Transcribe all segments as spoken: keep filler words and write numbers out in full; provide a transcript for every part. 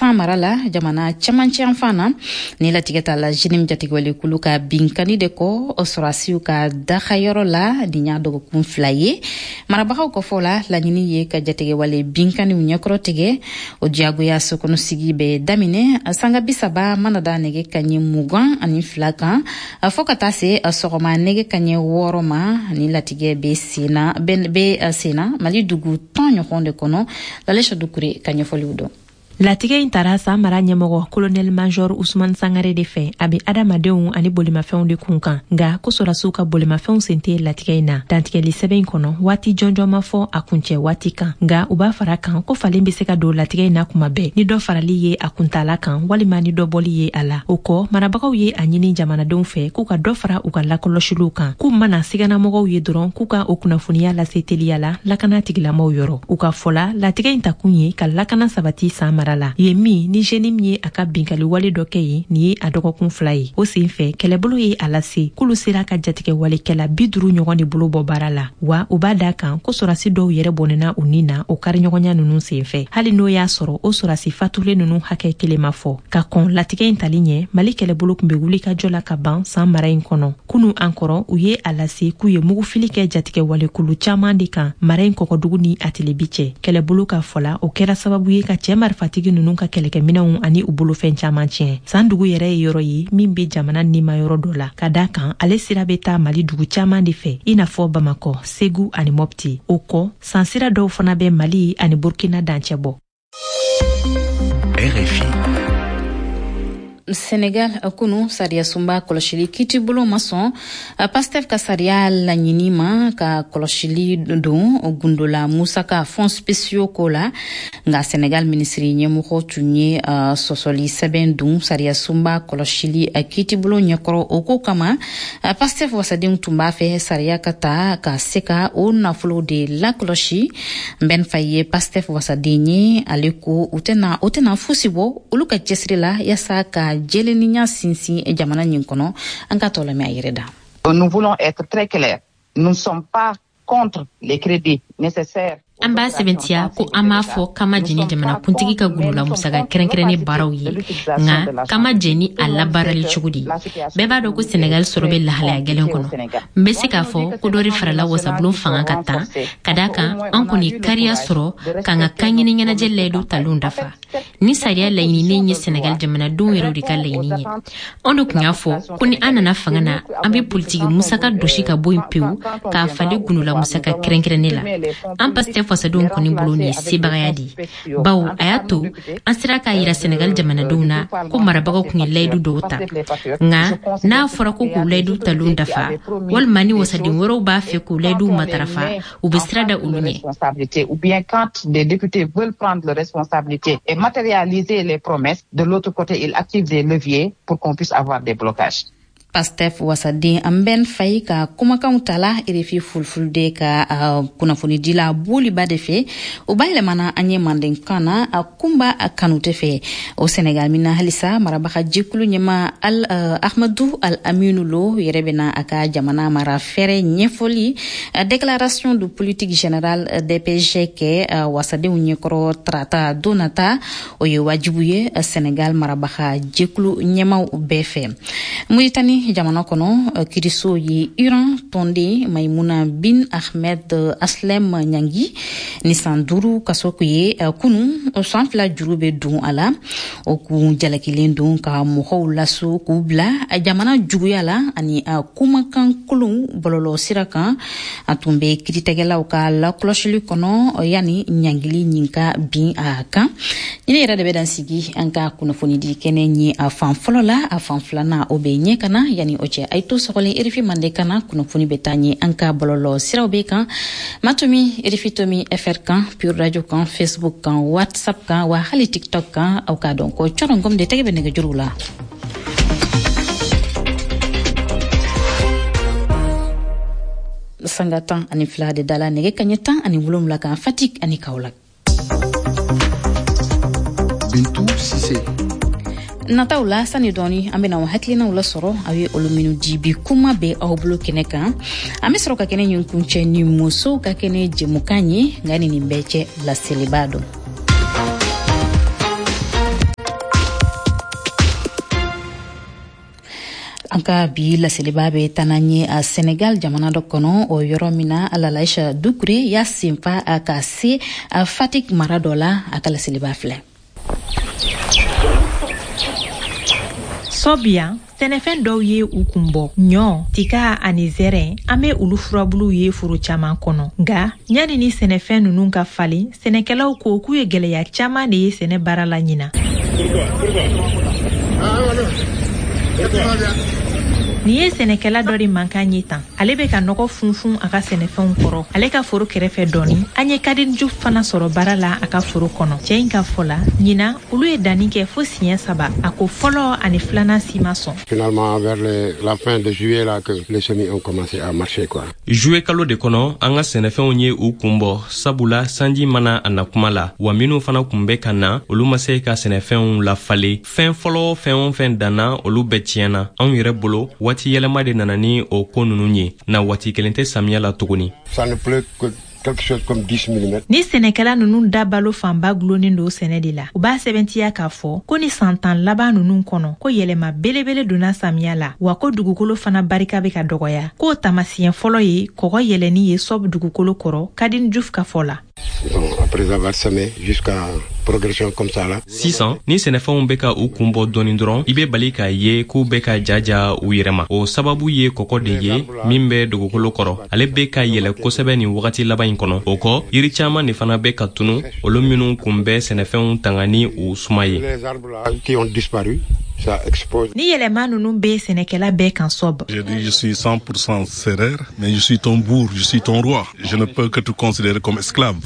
San mara la, jamana cɛmancɛ yanfan na. Ni latigɛ ta la J N I M jatigɛwalekulu ka binkani de kɔ sɔrɔdasiw ka dagayɔrɔ la nin y'a dɔgɔkun fila ye. Marabagaw ka fɔ la, laɲini ye ka jatigɛwale binkaniw ɲɛkɔrɔ tigɛ. O diyagoya sokɔnɔsigi bɛ daminɛ sanga bi saba mana da nɛgɛ kaɲɛ mugan ani fila kan fɔɔ ka taa se sɔgɔma nɛgɛ kaɲɛ wɔɔrɔ ma. Ni latigɛ bɛ senna bɛ senna Mali dugu tan ɲɔgɔn de kɔnɔ. Lalesa Dukure ka ɲɛfɔliw dɔn. Latigɛ in tara San mara ɲɛmɔgɔ colonel major Usman Sangare de fɛ. A be adamadenw ani bolimafɛnw de kun kan, nga ko sɔrɔdasiw ka bolimafɛnw sen tɛ latigɛ in na. Dantigɛli sɛbɛn in kɔnɔ, waati jɔnjɔn ma fɔ a kuncɛ waati kan, nga u b'a fara kan ko falen be se ka don latigɛ in na kuma bɛɛ, ni dɔ farali ye a kuntala kan walima ni dɔ bɔli ye a la. O kɔ, marabagaw ye a ɲini jamanadenw fɛ k'u ka dɔ fara u ka lakɔlɔsiliw kan, k'u mana siganamɔgɔw ye dɔrɔn, k'u ka o kunnafoniya lase teliya la lakana tigilamaw yɔrɔ. U ka fɔla, latigɛ in takun ye ka lakana sabati San mara la yen min ni J N I M ye a ka binkali wale dɔ kɛ yen nin ye a dɔgɔkun fila ye. O sen fɛ, kɛlɛbolo ye a lase k'olu sera ka jatigɛwalekɛla bi duru ɲɔgɔn de bolo bɔ baara la, wa u b'a da kan ko sɔrɔdasi dɔw yɛrɛ bɔnɛna u ni na o kariɲɔgɔnya nunu sen fɛ, hali n'o y'a sɔrɔ o sɔrɔdasi fatulen nunu hakɛ kelen ma fɔ. Ka kɔn latigɛ in tali ɲɛ, Mali kɛlɛbolo tun be wuli ka jɔ la ka ban San mara in kɔnɔ. Kunu an kɔrɔ, u ye a lase k'u ye mugufili kɛ jatigɛwalekulu caaman de kan mara in kɔkɔdugu ni a tilebi cɛ. Kɛlɛbolo ka fɔla, o kɛra sababu ye ka cɛɛ marifatigi nunu ka kɛlɛkɛminɛw ani u bolofɛn caaman tiɲɛ. San dugu yɛrɛ ye yɔrɔ ye min be jamana nima yɔrɔ dɔ la, ka da kan ale sira bɛ taa Mali dugu caaman de fɛ, i n'a fɔ Bamakɔ, Segu ani Mɔpti. O kɔ, san sira dɔw fana bɛ Mali ani Burkina dancɛ bɔ. R F I. Senegal, kunu sariya sunba kɔlɔsili kiitibolo ma sɔn Pastef ka sariya laɲini ma ka kɔlɔsili don gundola musaka fonds spéciaux ko la. Nka Senegal minisiri ɲɛmɔgɔ tun ye sɔsɔli sɛbɛn dun sariya sunba kɔlɔsili kiitibolo ɲɛkɔrɔ. O ko kama, Pastef wasadenw tun b'a fɛ sariya ka ta ka se ka o nafolo de lakɔlɔsi. Mbɛn Faye ye Pastef wasaden ye. Ale ko u tɛna o tɛna fosi bɔ olu ka cɛsiri la yaasa ka jɛlennenya sinsin jamana nin kɔnɔ. An ka tɔ lamɛn a yɛrɛ da. Nous voulons être très clairs. Nous ne sommes pas contre les crédits nécessaires. An b'a sɛbɛntiya ko an b'a fɔ k'an ma jɛni jamanakuntigi ka gundola musaka kɛrɛnkɛrɛnnen baaraw ye, nka k'an ma jɛn ni a labaarali cogo de ye. Bɛɛ b'a dɔn ko Senegal sɔrɔ bɛ lahalaya gɛlɛn kɔnɔ. N bɛ se k'a fɔ ko dɔ de farala wasabulon fanga ka tan, ka da kan an kɔni ye kariya sɔrɔ k'an ka kanɲini ɲɛnajɛ layidu talenw dafa. Ni sariya laɲininen ye Senegal jamanadenw yɛrɛw de ka laɲini ye. Anw de tun y'a fɔ ko ni an nana fanga na, an bɛ politiki musaka dosi ka bɔ yen pewu k'a falen gundola musaka kɛrɛnkɛrɛnnen la. An Pastef fasadenw kɔni bolo, nin ye sebagaya de ye, bawo a y'a to an sera k'a yira Senegal jamanadenw na ko marabagaw tun ye layidu dɔw ta. Nka n'a fɔra ko k'u layidu talenw dafa, walima ni wasaden wɛrɛw b'a fɛ k'u layiduw matarafa, u bɛ sira da olu ɲɛ. Ou bien quand des députés veulent prendre leurs responsabilités et matérialiser les promesses, de l'autre côté, ils activent des leviers pour qu'on puisse avoir des blocages. Pastef wasaden Mbɛn Fayi ka kumakanw tala R F I Fulfulde ka uh, kunnafonidila Boliba de fɛ. O bayɛlɛmana an ye mandenkan na a Kunba Kanute fɛ. O Senegal min na halisa, marabaga jɛkulu ɲɛma al uh, Ahmadu Al Aminu Lo yɛrɛ bɛna a ka jamana mara fɛrɛ ɲɛfɔli uh, déclaration de politique générale D P G kɛ uh, wasadenw ɲɛkɔrɔ tarata don nata. O ye wajibu ye Senegal marabaga jɛkulu ɲɛmaw bɛɛ fɛ. Muritani jamana kɔnɔ, kiriso ye Iran tɔnden Maimuna bin Ahmed Aslem ɲangi ni san duuru kaso ye kunu. San fila juru bɛ don a la. O kun jalakilen don ka mɔgɔw laso k'u bila jamana juguya la ani kumakan kolon bɔlɔlɔ sira kan. A tun bɛ kiiritigɛlaw ka lakɔlɔsili kɔnɔ yanni ɲangili nin ka bin a kan. Ɲini yɛrɛ de bɛ dan sigi an ka kunnafonidi kɛnɛ ye a fan fɔlɔ la. A fan filanan, o bɛ ɲɛ ka na. Yanni o cɛ, a ye to sɔgɔlen R F I Mande kana. Kunnafoni bɛ taa ɲɛ an ka bɔlɔlɔ siraw bɛ kan matomi R F I tomi F R kan, Pure Radio kan, Facebook kan, WhatsApp kan, wa hali TikTok kan. Aw k'a dɔn ko cɔrɔngɔm de tɛgɛ bɛ nɛgɛjuru la. Sanga tan ani fila de dala nɛgɛ kaɲɛ tan ani wolonwula kan Fatick ani Kaolack. Bintu Sise. Nataw la, sani dɔɔni an bena o hakilinaw lasɔrɔ aw ye olu minnu di bi kuma bɛ aw bolo kɛnɛ kan. An be sɔrɔ ka kɛnɛ ɲin kuncɛ ni musow ka kɛnɛ jɛmukan ye. Nka ni nin bɛɛ cɛ, laseliba dɔn. An ka bi laseliba bɛ taa n'an ye a Senegal jamana dɔ kɔnɔ, o yɔrɔ min na Lalaïcha Doucouré y'a senfa ka se a Fatick mara dɔ la. A ka laseliba filɛ. Sɔbiyan, sɛnɛfɛn dɔw ye u kun bɔ, ɲɔ, tika ani zɛrɛn. An be olu furabuluw ye foro caaman kɔnɔ. Nga ɲani ni sɛnɛfɛn nunu ka falen, sɛnɛkɛlaw ko k'u ye gwɛlɛya caaman de ye sɛnɛ baara la ɲina. Nin ye sɛnɛkɛla dɔ de mankan ye tan. Ale bɛ ka nɔgɔ funfun a ka sɛnɛfɛnw kɔrɔ ale ka foro kɛrɛfɛ dɔɔni. An ye Kadiju fana sɔrɔ baara la a ka foro kɔnɔ. Cɛ in ka fɔ la, ɲina olu ye danni kɛ fo siɲɛ saba. A ko fɔlɔ ani filanan si ma sɔn. Finalement, vers les, la fin de juillet là que les semis ont commencé à marcher quoi. Juillet kalo de kɔnɔ, an ka sɛnɛfɛnw ye u kun bɔ, sabula sanji mana a na kuma la, wa minnu fana kun bɛ ka na, olu ma se ka sɛnɛfɛnw lafalen. Fɛn fɔlɔ, fɛn o fɛn danna, olu bɛɛ tiɲɛna. Anw yɛrɛ bolo, waati yɛlɛma de nana ni o ko ninnu ye na. Waati kelen tɛ samiya la tuguni. Ça ne pleut que quelque chose comme dix millimètres. Ni sɛnɛkɛla nunu da balo fanba gulonnen don sɛnɛ de la, u b'a sɛbɛntiya k'a fɔ ko ni san tan laban nunu kɔnɔ, ko yɛlɛma belebele donna samiya la, wa ko dugukolo fana barika bɛ ka dɔgɔya. K'o taamasiyɛn fɔlɔ ye kɔgɔ yɛlɛni ye sɔb dugukolo kɔrɔ, Kadin Juf ka fɔ la. Bon, après avoir semé jusqu'à progression comme ça là. Sisan ni sɛnɛfɛnw bɛ ka u kun bɔ dɔɔni dɔrɔn, i bɛ bali k'a ye k'u bɛ ka jaja u yɛrɛ ma. O sababu ye kɔgɔ de ye min bɛ dugukolo kɔrɔ, ale bɛ ka yɛlɛ kosɛbɛ nin wagati laban in kɔnɔ. O kɔ, yiri caman de fana bɛ ka tunu, olu minnu kun bɛ sɛnɛfɛnw tanga ni u suma ye. Les arbres là qui ont disparu, ça expose. Ni yɛlɛma nunu bɛ sɛnɛkɛla bɛɛ kan sɔb. J'ai dit, je suis cent pour cent sérère, mais je suis ton bourg, je suis ton roi. Je ne peux que te considérer comme esclave.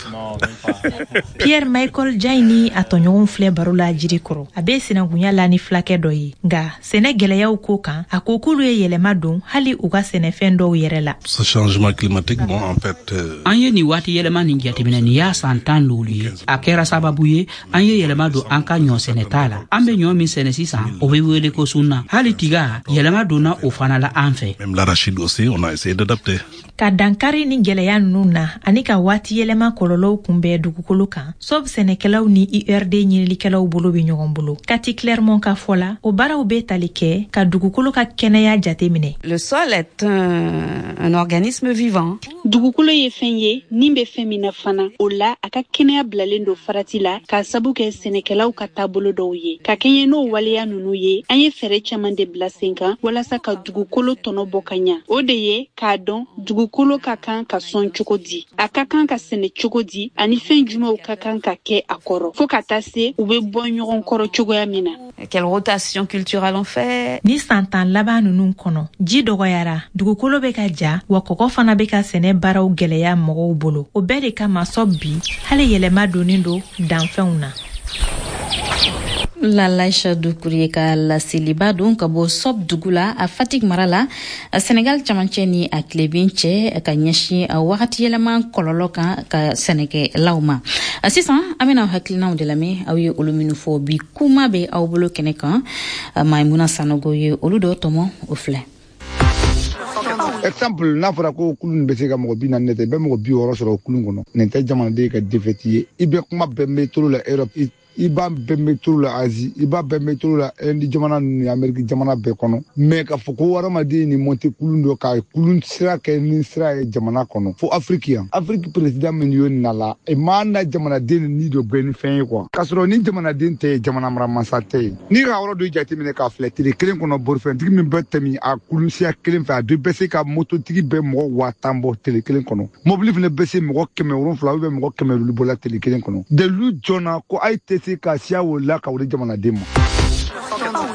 Pierre Michael Jai ni a tɔɲɔgɔnw filɛ baro la jiri kɔrɔ. A bɛ sinankunya la ni fulakɛ dɔ ye, nga sɛnɛ gwɛlɛyaw ko kan, a ko k'olu ye yɛlɛma don hali u ka sɛnɛfɛn dɔw yɛrɛ la. Ce changement climatique, bon, en fait, euh, An ye nin waati yɛlɛma nin jateminɛ, nin y'a san tan loolu ye. A kɛra sababu ye an ye yɛlɛma don an ka ɲɔ sɛnɛta la. An be ɲɔ min sɛnɛ sisan, o be wele ko sunna. Hali tiga, yɛlɛma donna o fana la an fɛ. Même l'arachide aussi, on a essayé d'adapter. Ka dankari ni gwɛlɛya nunu na ani ka waati yɛlɛma kɔlɔlɔw kunbɛn dugukolo kan, sɔb sɛnɛkɛlaw ni U R D ɲinilikɛlaw bolo be ɲɔgɔn bolo. Kati Clermont ka fɔ la, o baaraw be tali kɛ ka dugukolo ka kɛnɛya jate minɛ. Le sol est un, un organisme vivant. Dugukolo ye fɛn ye nin bɛ fɛn min na fana. O la, a ka kɛnɛya bilalen don farati la k'a sabu kɛ sɛnɛkɛlaw ka taabolo dɔw ye. Ka kɛɲɛ n'o waleya nunu ye, an ye fɛɛrɛ caman de bila sen kan walasa ka dugukolo tɔnɔ bɔ ka ɲa. O de ye k'a dɔn dugukolo ka kan ka sɔn cogo di, a ka kan ka sɛnɛ cogo di, ani fɛn jumɛnw ka kan ka kɛ a kɔrɔ, fɔɔ ka taa se u bɛ bɔ ɲɔgɔn kɔrɔ cogoya min na. Quelle rotation culturelle on fait? Ni san tan laban nunu kɔnɔ, ji dɔgɔyara, dugukolo bɛ ka ja, wa kɔgɔ fana bɛ ka sɛnɛ baaraw gwɛlɛya mɔgɔw bolo. O bɛɛ de kama, sɔb bi hali yɛlɛma donnen don danfɛnw na. Lalaïcha Doucouré ka laseliba don ka bɔ Sɔb dugu la, a Fatick mara la, a Senegal camancɛ ni a tilebin cɛ, ka ɲɛsin a wagati yɛlɛma kɔlɔlɔ kan ka sɛnɛkɛlaw ma. A sisan, an bɛna hakilinaw de lamɛn, aw ye olu minnu fɔ bi kuma bɛ aw bolo kɛnɛ kan. Maimuna Sanogo ye olu dɔ tɔmɔ, o filɛ. Exemple, n'a fɔra ko kulun bɛ se ka mɔgɔ bi naani tɛ, i bɛ mɔgɔ bi wɔɔrɔ sɔrɔ kulun kɔnɔ. Nin tɛ jamanaden ka défaite ye. I bɛ kuma bɛɛ métro la Europe, i b'a bɛɛ métro la Asie, i b'a bɛɛ métro la Inde jamana ni Amérique jamana bɛɛ kɔnɔ. Mais k'a fɔ ko hadamaden ni monter kulun dɔ ka kulun sira kɛ ni sira ye jamana kɔnɔ, fo Afrique yan. Afrique président min y'o na la, e ma na jamanaden ni dɔ bɛɛ ni fɛn ye quoi, k'a sɔrɔ ni jamanaden tɛ, jamana maramasa tɛ yen. N'i ka yɔrɔ dɔ jateminɛ k'a filɛ, tile kelen kɔnɔ, bolifɛntigi min bɛ tɛmɛ a kulun siya kelen fɛ, a bɛɛ bɛ se ka mototigi bɛ mɔgɔ waa tan bɔ tile kelen kɔnɔ. Mobili fana bɛ se mɔgɔ kɛmɛ wolonfila ou bien mɔgɔ kɛmɛ duuru bɔ la tile kelen kɔnɔ. Dalilu jɔnna ko a tɛ se ka siya o la ka o di jamanaden ma?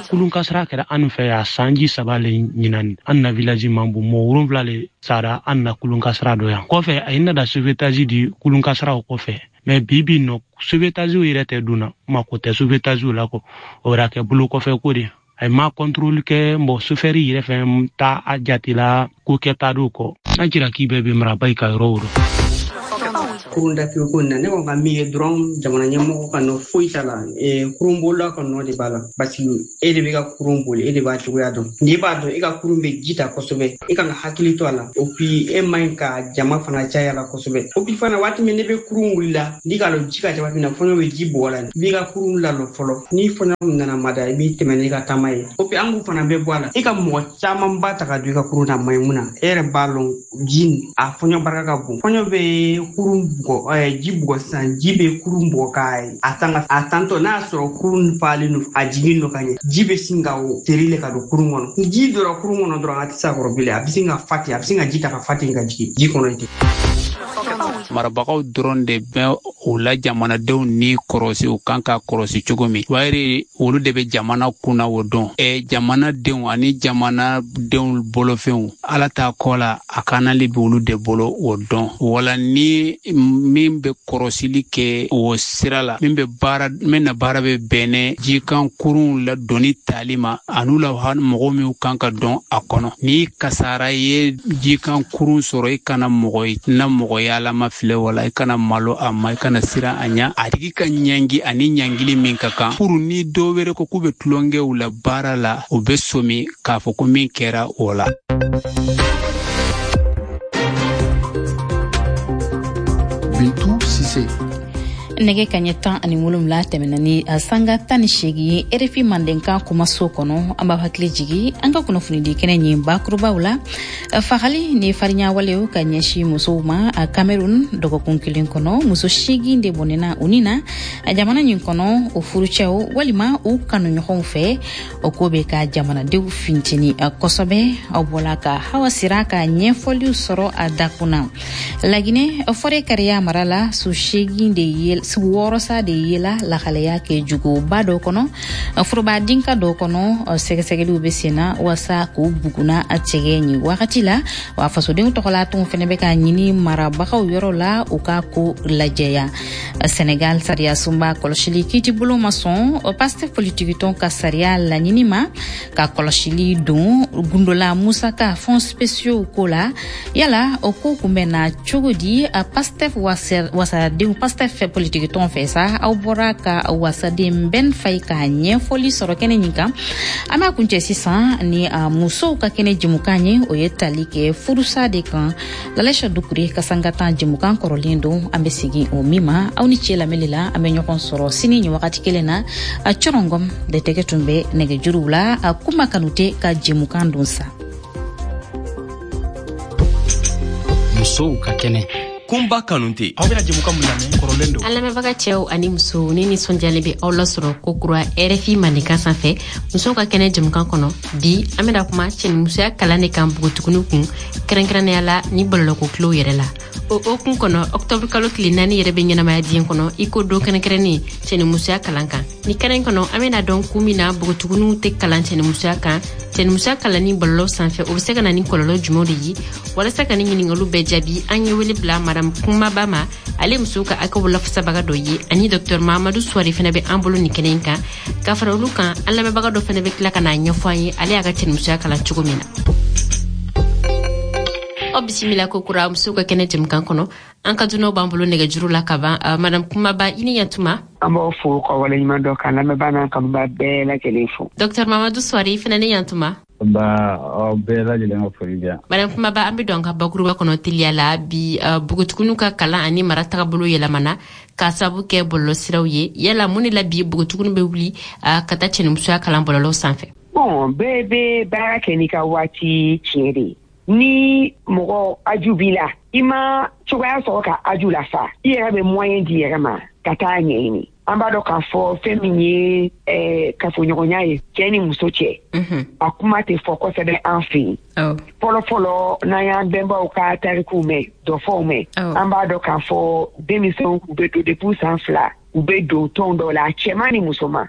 Kulun kasara kɛra an fɛ yan sanji saba le ɲinan. An na village man bon, mɔgɔ wolonfila le sara an na kulun kasara dɔ yan. Kɔfɛ, a ye nada sauvetage di kulun kasaraw kɔfɛ, mais bi bi nɔ, sauvetage yɛrɛ tɛ dun na, mako tɛ sauvetage la kɔ, o yɛrɛ kɛ bolo kɔfɛ ko de. A ye ma contrôle kɛ mɔgɔ chauffeur yɛrɛ fɛn ta a jatela ko kɛta do kɔ. N'a jira k'i bɛɛ bɛ maraba i ka yɔrɔ o rɔ. Kurun datugu ko na ne ko ka min ye dɔrɔn jamana ɲɛmɔgɔ ka nɔ foyi t'a la, kurunbolila ka nɔ de b'a la, parce que e de bɛ ka kurun boli, e de b'a cogoya dɔn. N'i b'a dɔn e ka kurun bɛ ji ta kosɛbɛ, e kan ka hakili to a la. O puis e man ɲi ka jama fana caya la kosɛbɛ. O puis fana waati min ne bɛ kurun wuli la, n'i k'a lɔn ji ka ca waati min na, fɔɲɔ bɛ ji bugɔ la, i b'i ka kurun lalɔ fɔlɔ. Ni fɔɲɔ nana mada, i b'i tɛmɛ n'i ka taama ye. O puis an k'u fana bɛ bɔ a la, e ka mɔgɔ camanba ta ka don i ka kurun na, maɲi mun na, e yɛrɛ b'a lɔn ji a fɔɲɔ barika ka bon. Fɔɲɔ bɛ kurun bugɔ, ji bugɔ sisan, ji bɛ kurun bugɔ ka a tan a tantɔ n'a y'a sɔrɔ kurun falen don, a jigin don ka ɲɛ, ji bɛ sin ka teri le ka don kurun kɔnɔ. Ni ji donna kurun kɔnɔ dɔrɔn, a tɛ se a kɔrɔ bilen, a bɛ sin ka fa ten, a bɛ sin ka ji ta ka fa ten ka jigin ji kɔnɔ ten. Marabagaw dɔrɔn de bɛ o la jamanadenw ni kɔrɔsi u kan ka kɔrɔsi cogo min wayiri olu de bɛ jamana kunna o dɔn. Ɛ jamanadenw ani jamanadenw bolofɛnw ala t'a kɔ la, a kanali bɛ olu de bolo o dɔn. Wala ni min bɛ kɔrɔsili kɛ o sira la, min bɛ baara min na baara bɛ bɛnɛ jikan kurunw la doni tali ma an'u la mɔgɔ minnu kan ka dɔn a kɔnɔ. Ni kasara ye jikan kurun sɔrɔ, i kana mɔgɔ ye na mɔgɔ yalama filɛ wala i kana malo a ma, i kana siran a ɲɛ, a tigi ka ɲangi ani ɲangili min ka kan. Furu ni dɔw wɛrɛ ko k'u bɛ tulonkɛw la baara la, u bɛ somi k'a fɔ ko min kɛra o la. Bintu Sise. Nɛgɛ kaɲɛ tan ani wolonwula tɛmɛna ni sanga tan ni seegin ye R F I Mandenkan kumaso kɔnɔ. An b'aw hakili jigi an ka kunnafonidi kɛnɛ ɲin bakurubaw la. Fagali ni fariɲawalew ka ɲɛsin musow ma a Cameroun dɔgɔkun kelen kɔnɔ, muso seegin de bɔnɛna u ni na jamana ɲin kɔnɔ o furucɛw walima u kanuɲɔgɔnw fɛ. O ko bɛ ka jamanadenw finteni kosɛbɛ. Aw bɔla ka Hawa Sira ka ɲɛfɔliw sɔrɔ a dakun na. Laginɛ fɔrɛ kariya mara la, su seegin de ye sugu wɔɔrɔ sa de yela lahalaya kɛ juguba dɔ kɔnɔ, foroba dinka dɔ kɔnɔ. Sɛgɛsɛgɛliw bɛ sen na walasa k'u buguna a cɛgɛ ɲin wagati la. Wa fasodenw tɔgɔla tɔnw fɛnɛ bɛ ka ɲini marabagaw yɔrɔ la u ka ko lajɛya. Senegal sariya sunba kɔlɔsili kiitibolo ma sɔn Pastef politikitɔn ka sariya laɲini ma ka kɔlɔsili don gundola musaka fonds spéciaux ko la. Yala o ko kun bɛ na cogo di Pastef wasadenw Pastef politikitɔn fɛ sa? Aw bɔra ka wasaden Ben Faye ka ɲɛfɔli sɔrɔ kɛnɛ ɲin kan. An b'a kuncɛ sisan ni musow ka kɛnɛ jɛmukan ye, o ye tali kɛ furusa de kan. Lalɛsa Dukure ka sangatan jɛmukan kɔrɔlen don, an bɛ segin o min ma. Aw ni ce lamɛnli la, an bɛ ɲɔgɔn sɔrɔ sini nin wagati kelen na. A Cɔrɔngɔm de tɛgɛ tun bɛ nɛgɛjuruw la. A Kuma Kanute ka jɛmukan don sa. Musow ka kɛnɛ. Kunba Kanute. Aw bɛna jɛmukan mun lamɛn kɔrɔlen don. An lamɛnbaga cɛw ani musow, ne nisɔndiyalen bɛ aw lasɔrɔ ko kura R F I Mandenkan sanfɛ musow ka kɛnɛ jɛmukan kɔnɔ. Bi an bɛna kuma cɛnimusoya kalan de kan npogotigininw kun, kɛrɛnkɛrɛnnenya la ni bɔlɔlɔko kilew yɛrɛ la. O hukumu kɔnɔ, octobre kalo tile naani yɛrɛ bɛ ɲɛnamaya diɲɛ kɔnɔ i ko don kɛrɛnkɛrɛnnen cɛnimusoya kalan kan. Ni kɛnɛ kɔnɔ, an bɛna dɔn kun min na npogotigininw tɛ kalan cɛnimusoya kan, cɛnimusoya kalanni bɔlɔlɔ sanfɛ o bɛ se ka na ni kɔlɔlɔ jumɛnw de ye. Walasa ka ni ɲininkaliw bɛɛ jaabi, an ye wele bila Madame Kumaba ma, ale musow ka hakɛw lafasabaga dɔ ye, ani Docteur Mahamadou Souare fana bɛ an bolo nin kɛnɛ in kan. Ka fara olu kan, an lamɛnbaga dɔ fana bɛ tila ka n'a ɲɛfɔ an ye ale y'a ka cɛnimusoya kalan cogo min na. Aw bisimila ko kura musow ka kɛnɛ jɛmukan kɔnɔ. An ka dunanw b'an bolo nɛgɛjuru la ka ban. Madame Kumaba, i ni yantuma. An b'aw fo ka waleɲuman dɔn k'an lamɛnbaa n'an kanubaa bɛɛ lajɛlen fo. Docteur Mahamadou Souare, i fana ni yantuma. Ba aw bɛɛ lajɛlen ka foli bɛ yan. Madame Kumaba, an bɛ don an ka bakuruba kɔnɔ teliya la bi. Npogotigininw ka kalan ani mara tagabolo yɛlɛmana k'a sababu kɛ bɔlɔlɔsiraw ye. Yala mun de la bi npogotigininw bɛ wuli ka taa cɛnimusoya kalan bɔlɔlɔw sanfɛ? Bon, bɛɛ bɛ baara kɛ n'i ka waati tiɲɛ de ye. Ni mɔgɔ aju b'i la, i ma cogoya sɔrɔ ka aju lafa, i yɛrɛ bɛ moyen di yɛrɛ ma ka taa ɲɛɲini. An b'a dɔn k'a fɔ fɛn min ye kafoɲɔgɔnya ye cɛ ni muso cɛ, a kuma tɛ fɔ kosɛbɛ an fɛ yen. Fɔlɔ fɔlɔ, n'an y'an bɛnbaw ka tarikuw mɛn, dɔfɔw mɛn, an b'a dɔn k'a fɔ denmisɛnw u bɛ don depuis san fila, u bɛ don tɔn dɔw la, cɛman ni musoman.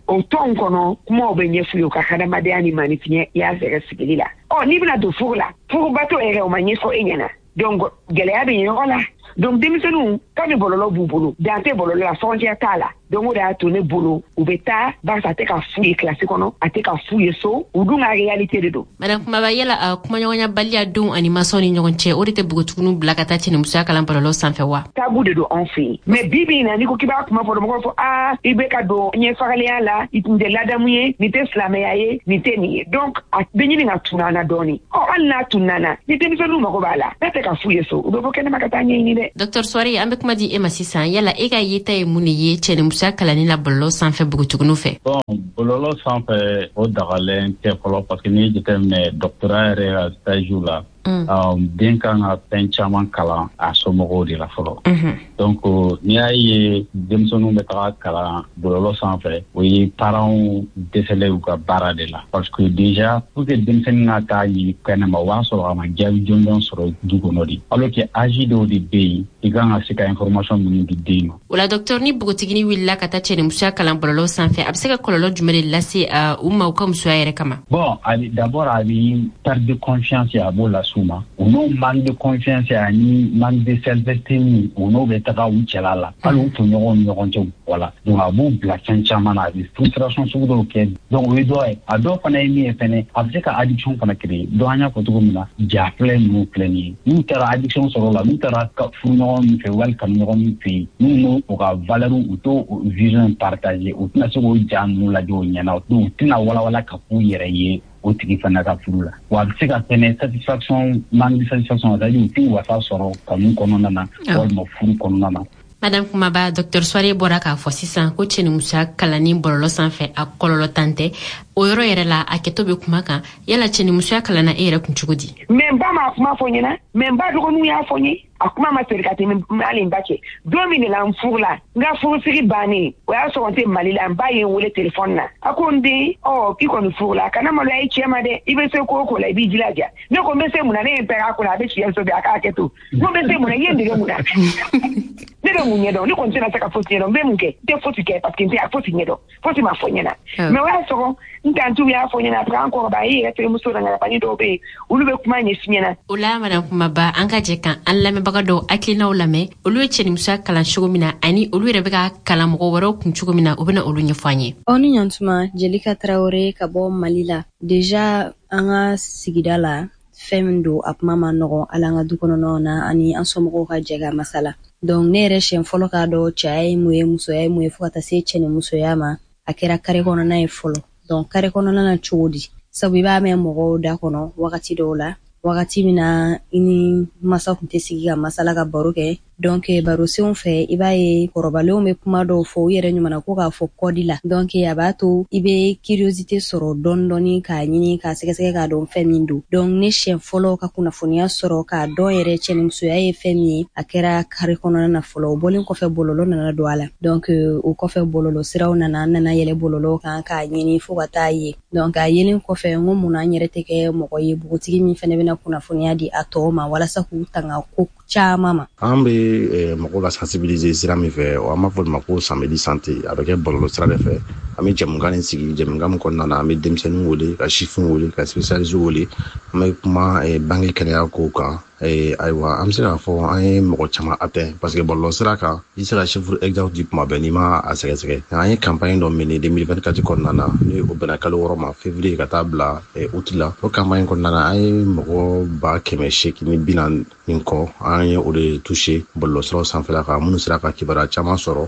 O tɔn kɔnɔ, kumaw bɛ ɲɛf'u ye u ka hadamadenya ni maanifinya y'a sɛgɛ sigili la. Ɔ n'i bɛna don furu la, furubato yɛrɛ o ma ɲɛfɔ e ɲɛna. Donc gɛlɛya bɛ yen yɔrɔ la. Donc denmisɛnninw, kami bɔlɔlɔ b'u bolo, dan tɛ bɔlɔlɔ la, frontière t'a la. Donc o de y'a to ne bolo, u bɛ taa barisa a tɛ ka f'u ye kilasi kɔnɔ, a tɛ ka f'u ye so, u dun ka réalité de don. Madame Kumaba, yala a kumaɲɔgɔnyabaliya denw ani mansaw ni ɲɔgɔn cɛ, o de tɛ npogotigininw bila ka taa cɛnimusoya kalan bɔlɔlɔ sanfɛ wa? Tabou de don anw fɛ yen. Mais bi bi in na, n'i ko k'i b'a kuma fɔ, mɔgɔw fɔ aa i bɛ ka don ɲɛfagalenya la, i tun tɛ ladamu ye, nin tɛ silamɛya ye, nin tɛ nin ye. Donc a bɛ ɲini ka tunun an na dɔɔnin. Ɔ hali n'a tunun na, ni denmisɛnninw mago b'a la, n'a tɛ ka f'u ye so, u bɛ bɔ kɛnɛma ka taa ɲɛɲini dɛ. Docteur Souaré, an bɛ kuma di e ma sisan. Yala e ka yeta ye mun de ye cɛnimusoya kalanni la bɔlɔlɔ sanfɛ npogotigininw fɛ? Bon, bɔlɔlɔ sanfɛ, o dagalen tɛ fɔlɔ, parce que n'i ye jateminɛ doctorat yɛrɛ ka stage la, Mm. Um, den kan ka fɛn caman kalan a somɔgɔw de la fɔlɔ. mm -hmm. Donc n'i y'a ye denmisɛnninw bɛ taga kalan bɔlɔlɔ sanfɛ, o ye parents dɛsɛlen u ka baara de la, parce que déjà pour que denmisɛnnin ka taa ɲini kɛnɛma, o b'a sɔrɔ a ma jaabi jɔnjɔn sɔrɔ du kɔnɔ de, alors que âge dɔw de bɛ yen, i kan ka se ka information minnu di den ma. O la docteur, ni npogotiginin wulila ka taa cɛnimusoya kalan bɔlɔlɔ sanfɛ, a bɛ se ka kɔlɔlɔ jumɛn de lase uh, u ma u ka musoya yɛrɛ kama? Bon, a d'abord a bɛ perte de confiance, a b'o lase u ma. U n'o manque de confiance ani manque de self-esteem, u n'o bɛ taga u cɛla la, hali u tɔɲɔgɔnw ni ɲɔgɔn cɛ. Wala donc a b'u bila fɛn caman na, a bɛ frustration sugu dɔw kɛ. Donc o ye dɔ ye. A dɔw fana ye min ye fɛnɛ, a bɛ se ka addiction fana créer. Donc an y'a fɔ cogo min na, ja filɛ ninnu filɛ nin ye, n'u taara addiction sɔrɔ o la, n'u taara furu ɲɔgɔn min fɛ wali kanu ɲɔgɔn min fɛ yen, n'u n'o u ka valeur, u t'o vision partager, u tɛna se k'o ja ninnu lajɛ o ɲɛna, donc u tɛna walawala ka k'u yɛrɛ ye o tigi fana ka furu la. Wa a bɛ se ka fɛnɛ satisfaction, manque de satisfaction, c'est à dire u tɛ wasa sɔrɔ kanu kɔnɔna na walima furu kɔnɔna na. Madame Kumaba, docteur Souaré bɔra k'a fɔ sisan ko cɛnimusoya kalanni bɔlɔlɔ sanfɛ, a kɔlɔlɔ tan tɛ. O yɔrɔ yɛrɛ la, a kɛtɔ bɛ kuma kan. Yala cɛnimusoya kalanna e yɛrɛ kun cogo di? Mais n ba m'a kuma fɔ n ɲɛna, mais n ba dɔgɔninw y'a fɔ n ye. A kuma ma seri ka tɛmɛ hali n ba cɛ. Don min de la n furu la, n ka furusiri bannen, o y'a sɔrɔ n tɛ Mali la, n ba ye n wele telefɔni na. A ko n den, ɔ i kɔni furu la, kana maloya i cɛ ma dɛ, i bɛ se ko o ko la, i b'i jilaja. Ne ko n bɛ se mun na? Ne ye n pɛrɛn a kunna, a bɛ siyɛn so bi, a k'a kɛ to. N ko n bɛ se mun na? I ye n dege mun na? Ne bɛ mun ɲɛdɔn? Ne kɔni tɛna se ka fosi ɲɛdɔn. N bɛ mun kɛ? N tɛ fosi kɛ, parce que n tɛ fosi ɲɛdɔn. Fosi ma fɔ n ɲɛna. Mais o y'a sɔrɔ n tantiw y'a fɔ n ɲɛna, après an kɔrɔbaya, i yɛrɛ terimuso nana dɔw bɛ yen, olu bɛ kuma ɲɛf'i ɲɛna. O la Madame Kumaba, an ka jɛ kan an lamɛnbaga dɔw hakilinaw lamɛn, olu ye cɛnimusoya kalan cogo min na ani olu yɛrɛ bɛ ka kalan mɔgɔ wɛrɛw kun cogo min na, u bɛna olu ɲɛfɔ an ye. Aw ni ɲantuma, Jelika Tarawele ka bɔ Mali la. Déjà an ka sigida la, fɛn min don, a kuma ma nɔgɔn, hali an ka du kɔnɔnaw na ani an somɔgɔw ka jɛ ka masala. Donc ne yɛrɛ siɲɛ fɔlɔ k'a dɔn cɛya ye mun ye, musoya ye mun ye, fo ka taa se cɛnimusoya ma, a kɛra kare kɔnɔna ye fɔlɔ. Donc kare kɔnɔna na cogo di? Sabu i b'a mɛn mɔgɔw da kɔnɔ wagati dɔw la, wagati min na i ni masa tun tɛ sigi ka masala ka baro kɛ. Donc baro senw fɛ, i b'a ye kɔrɔbalenw bɛ kuma dɔw fɔ u yɛrɛ ɲuman ko k'a fɔ kɔdi la. Donc a b'a to i bɛ curiosité sɔrɔ dɔɔni dɔɔni k'a ɲini k'a sɛgɛsɛgɛ k'a dɔn fɛn min don. Donc ne siɲɛ fɔlɔ ka kunnafoniya sɔrɔ k'a dɔn yɛrɛ cɛnimusoya ye fɛn min ye, a kɛra kare kɔnɔna na fɔlɔ. O bɔlen kɔfɛ, bɔlɔlɔ nana don a la. Donc o kɔfɛ, bɔlɔlɔ siraw nana, n nana yɛlɛ bɔlɔlɔ kan k'a ɲini fo ka taa ye. Donc a yelen kɔfɛ, n ko mun na an yɛrɛ tɛ kɛ mɔgɔ ye, npogotigi min fɛnɛ bɛna kunnafoniya di a tɔw ma walasa k'u tanga ko caman ma. An bɛ mɔgɔw la sensibiliser sira min fɛ, an b'a fɔ o ma ko samedi santé, a bɛ kɛ bɔlɔlɔ sira de fɛ. An bɛ jɛmukan nin sigi, jɛmukan min kɔnɔna na, an bɛ denmisɛnninw wele, ka sifinw wele, ka spécialistes wele, an bɛ kuma bange kɛnɛya kow kan. Ayiwa, an bɛ se k'a fɔ an ye mɔgɔ caman atteint, parce que bɔlɔlɔ sira kan, i tɛ se ka chiffre exact di kuma bɛɛ n'i ma a sɛgɛsɛgɛ. An ye campagne dɔ mener deux mille vingt-quatre kɔnɔna na, ni o bɛnna kalo wɔɔrɔ ma, février ka taa bila août la. O campagne kɔnɔna na, an ye mɔgɔ ba kɛmɛ seegin ni bi naani ni kɔ, an ye o de touché bɔlɔlɔ siraw sanfɛla kan, minnu sera ka kibaruya caman sɔrɔ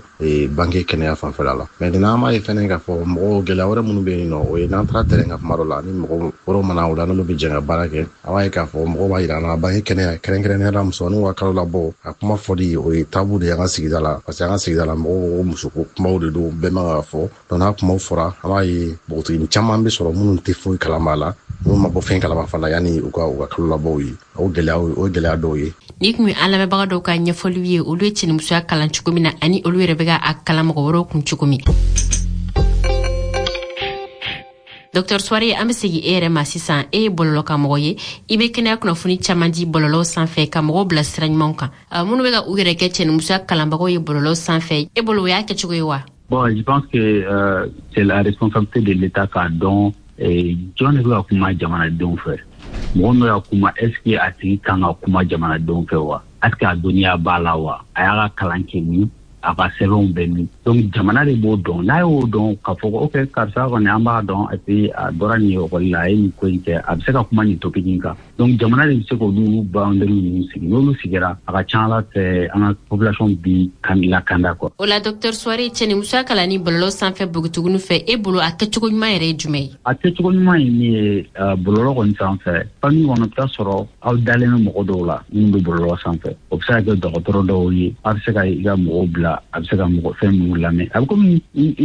bange kɛnɛya fanfɛla la. Maintenant an b'a ye fɛnɛ k'a fɔ mɔgɔw gɛlɛya wɛrɛ minnu bɛ yen nɔ, o ye n'an taara terrain kan kuma dɔ la, ni mɔgɔ wɛrɛw mana o la, n'olu bɛ jɛ ka baara kɛ, a b'a ye k'a fɔ mɔgɔw b'a yira an na bange kɛnɛya, kɛrɛnkɛrɛnnenya la musomaninw ka kalo labɔ, a kuma fɔli o ye tabou de ye an ka sigida la, parce que an ka sigida la mɔgɔw ko musoko kumaw de don, bɛɛ man ka fɔ. Donc n'a kumaw fɔra, an b'a ye npogotiginin caman bɛ sɔrɔ minnu tɛ foyi kalama la, minnu ma bɔ fɛn kalama fana yanni u ka u ka kalo labɔw ye. O gɛlɛya o gɛlɛya dɔw ye. Ni kun ye an lamɛnbaga dɔw ka ɲɛfɔliw ye, olu ye cɛnimusoya kalan cogo min na ani olu yɛrɛ bɛ ka a kalan mɔgɔ wɛrɛw kun cogo min. Docteur Souaré, an bɛ segin e yɛrɛ ma sisan. E ye bɔlɔlɔkanmɔgɔ ye, i bɛ kɛnɛya kunnafoni caman di bɔlɔlɔw sanfɛ ka mɔgɔw bila sira ɲumanw kan. Minnu bɛ ka u yɛrɛ kɛ cɛnimusoya kalanbagaw ye bɔlɔlɔ sanfɛ, e bolo o y'a kɛcogo ye wa? Bon, je pense que euh, c'est la responsabilité de l'État k'a dɔn jɔn de bɛ ka kuma jamanadenw fɛ. Mɔgɔ min bɛ ka kuma, est ce que a tigi kan ka kuma jamanadenw fɛ wa? Est ce que a dɔnniya b'a la wa? A y'a ka kalan kɛ min? A ka sɛbɛnw bɛ min? Donc jamana de b'o dɔn. N'a y'o dɔn k'a fɔ ko ok, karisa kɔni an b'a dɔn, et puis a bɔra nin ekɔli la, a ye nin ko in kɛ, a bɛ se ka kuma nin topic in kan. Donc jamana de bɛ se k'olu boundary ninnu sigi. N'olu sigira, a ka ca Ala fɛ, an ka population bi kan lakanda quoi. O la, docteur Souaré, cɛnimusoya kalanni bɔlɔlɔ sanfɛ npogotiginiw fɛ, e bolo a kɛcogo ɲuman yɛrɛ ye jumɛn ye? A kɛcogo ɲuman ye min ye, bɔlɔlɔ kɔni sanfɛ, famille kɔnɔ, i bɛ taa sɔrɔ aw dalen bɛ mɔgɔ dɔw la minnu bɛ bɔlɔlɔ sanfɛ. O bɛ se ka kɛ dɔgɔtɔrɔ dɔw ye, a bɛ se ka i ka mɔgɔw bila, a bɛ se ka mɔgɔ fɛn minnu lamɛn. A bɛ komi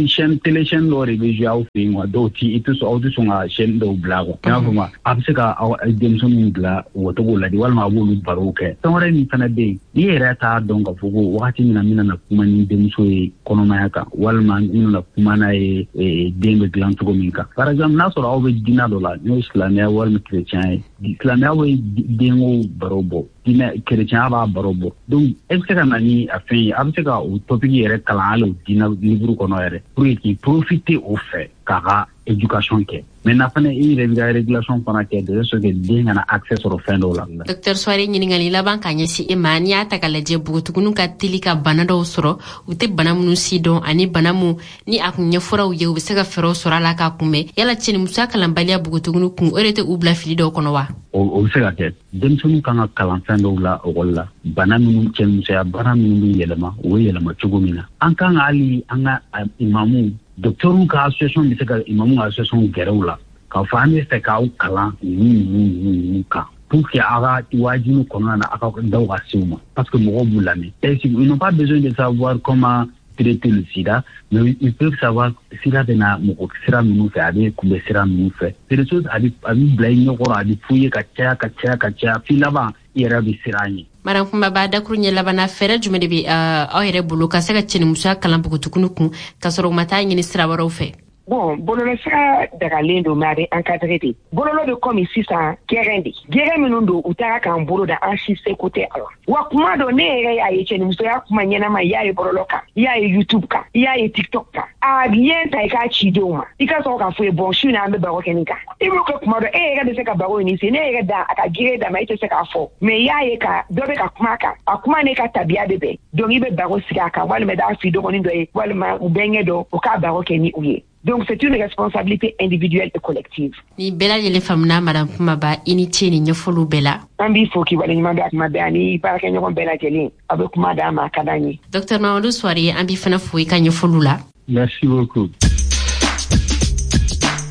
chaîne télé, chaîne dɔw de bɛ jouer aw fɛ yen quoi. Dɔw ti i tɛ sɔn, aw tɛ sɔn ka chaîne dɔw bila quoi. I y'a faamu? A bɛ se ka aw denmisɛnninw bila u ka to k'o lajɛ, walima a b'olu barow kɛ. Fɛn wɛrɛ min fana bɛ yen, n'i yɛrɛ t'a dɔn k'a fɔ ko wagati min na n bɛna na kuma ni denmuso ye kɔnɔmaya kan, walima n bɛna na kuma n'a ye den bɛ dilan cogo min kan. Par exemple, n'a sɔrɔ aw bɛ diinɛ dɔ la, n'o ye silamɛya walima chrétien ye, silamɛya bɛ denko baro bɔ, diinɛ chrétien b'a baro bɔ. Donc e bɛ se ka na ni a fɛn ye, a bɛ se ka o topic yɛrɛ kalan hali o diinɛ livre kɔnɔ yɛrɛ, pour que k'i profiter o fɛ k'a ka éducation kɛ. Maintenant fana, i yɛrɛ b'i ka régulation fana kɛ de sorte que den kana accès sɔrɔ fɛn dɔw la. Docteur Souaré, ɲininkali laban ka ɲɛsin e ma. N'i y'a ta k'a lajɛ, npogotigininw ka teli ka bana dɔw sɔrɔ, u tɛ bana minnu si dɔn, ani bana mun ni a kun ɲɛfɔra u ye, u bɛ se ka fɛɛrɛw sɔrɔ a la k'a kunbɛn, yala cɛnimusoya kalanbaliya npogotigininw kun, o de tɛ u bila fili dɔw kɔnɔ wa? O bɛ se ka kɛ. Denmisɛnninw kan ka kalan fɛn dɔw la ekɔli la, bana minnu, cɛnimusoya bana minnu bɛ yɛlɛma, u bɛ yɛlɛma cogo min na. An kan ka hali an ka imamuw, docteurs ka association bɛ se ka imamu ka association gɛrɛ u la k'a fɔ an bɛ fɛ k'aw kalan ninnu ninnu ninnu kan, pour que aw ka wajibi kɔnɔna na, aw ka daw ka se u ma, parce que mɔgɔw b'u lamɛn. Ils n'ont pas besoin de savoir comment traiter le sida, mais ils peuvent savoir sida bɛ na mɔgɔ sira minnu fɛ, a bɛ kunbɛn sira minnu fɛ. C'est des choses a bɛ a bɛ bila i ɲɛkɔrɔ, a bɛ f'u ye ka caya ka caya ka caya, f'i laban i yɛrɛ bɛ siran ɲɛ. Madame Kumaba, dakuru ɲɛ labanna, fɛɛrɛ jumɛn de bɛ aw yɛrɛ bolo ka se ka cɛnimusoya kalan npogotigininw kun, ka sɔrɔ u ma taa ɲini sira wɛrɛw fɛ? Bon, bɔlɔlɔsira dagalen don, mais a bɛ encadré de. Bɔlɔlɔ bɛ komi sisan gɛrɛn de. Gɛrɛn minnu don, u taara k'an bolo da, an si seko tɛ a la. Wa kuma dɔ, ne yɛrɛ y'a ye cɛnimusoya kuma ɲɛnama, i y'a ye bɔlɔlɔ kan, i y'a ye YouTube kan, i y'a ye TikTok kan. A lien ta i k'a ci denw ma. I ka sɔrɔ k'a fɔ ye, bon, su in na an bɛ baro kɛ nin kan. I b'o kɛ kuma dɔ, e yɛrɛ bɛ se ka baro in se, ne yɛrɛ da a ka gere d'a ma, e tɛ se k'a fɔ. Mais i y'a ye ka dɔ bɛ ka kuma a kan, a kuma n'e ka tabiya bɛ bɛn. Donc i bɛ baro sigi a kan, walima i b'a f'i dɔgɔnin dɔ ye, walima u bɛnkɛ dɔ, o k'a baro kɛ ni u ye. Donc c'est une responsabilité individuelle et collective. Ni bɛɛ lajɛlen faamuna, Madame Kumaba, i ni ce ni ɲɛfɔliw bɛɛ la. An b'i fo k'i waleɲuman dɔn a kuma bɛɛ, ani baarakɛɲɔgɔn bɛɛ lajɛlen. Aw bɛ kuma d'an ma, a ka d'an ye. Docteur Mamadou Souaré, an b'i fana fo i ka ɲɛfɔliw la. Merci beaucoup.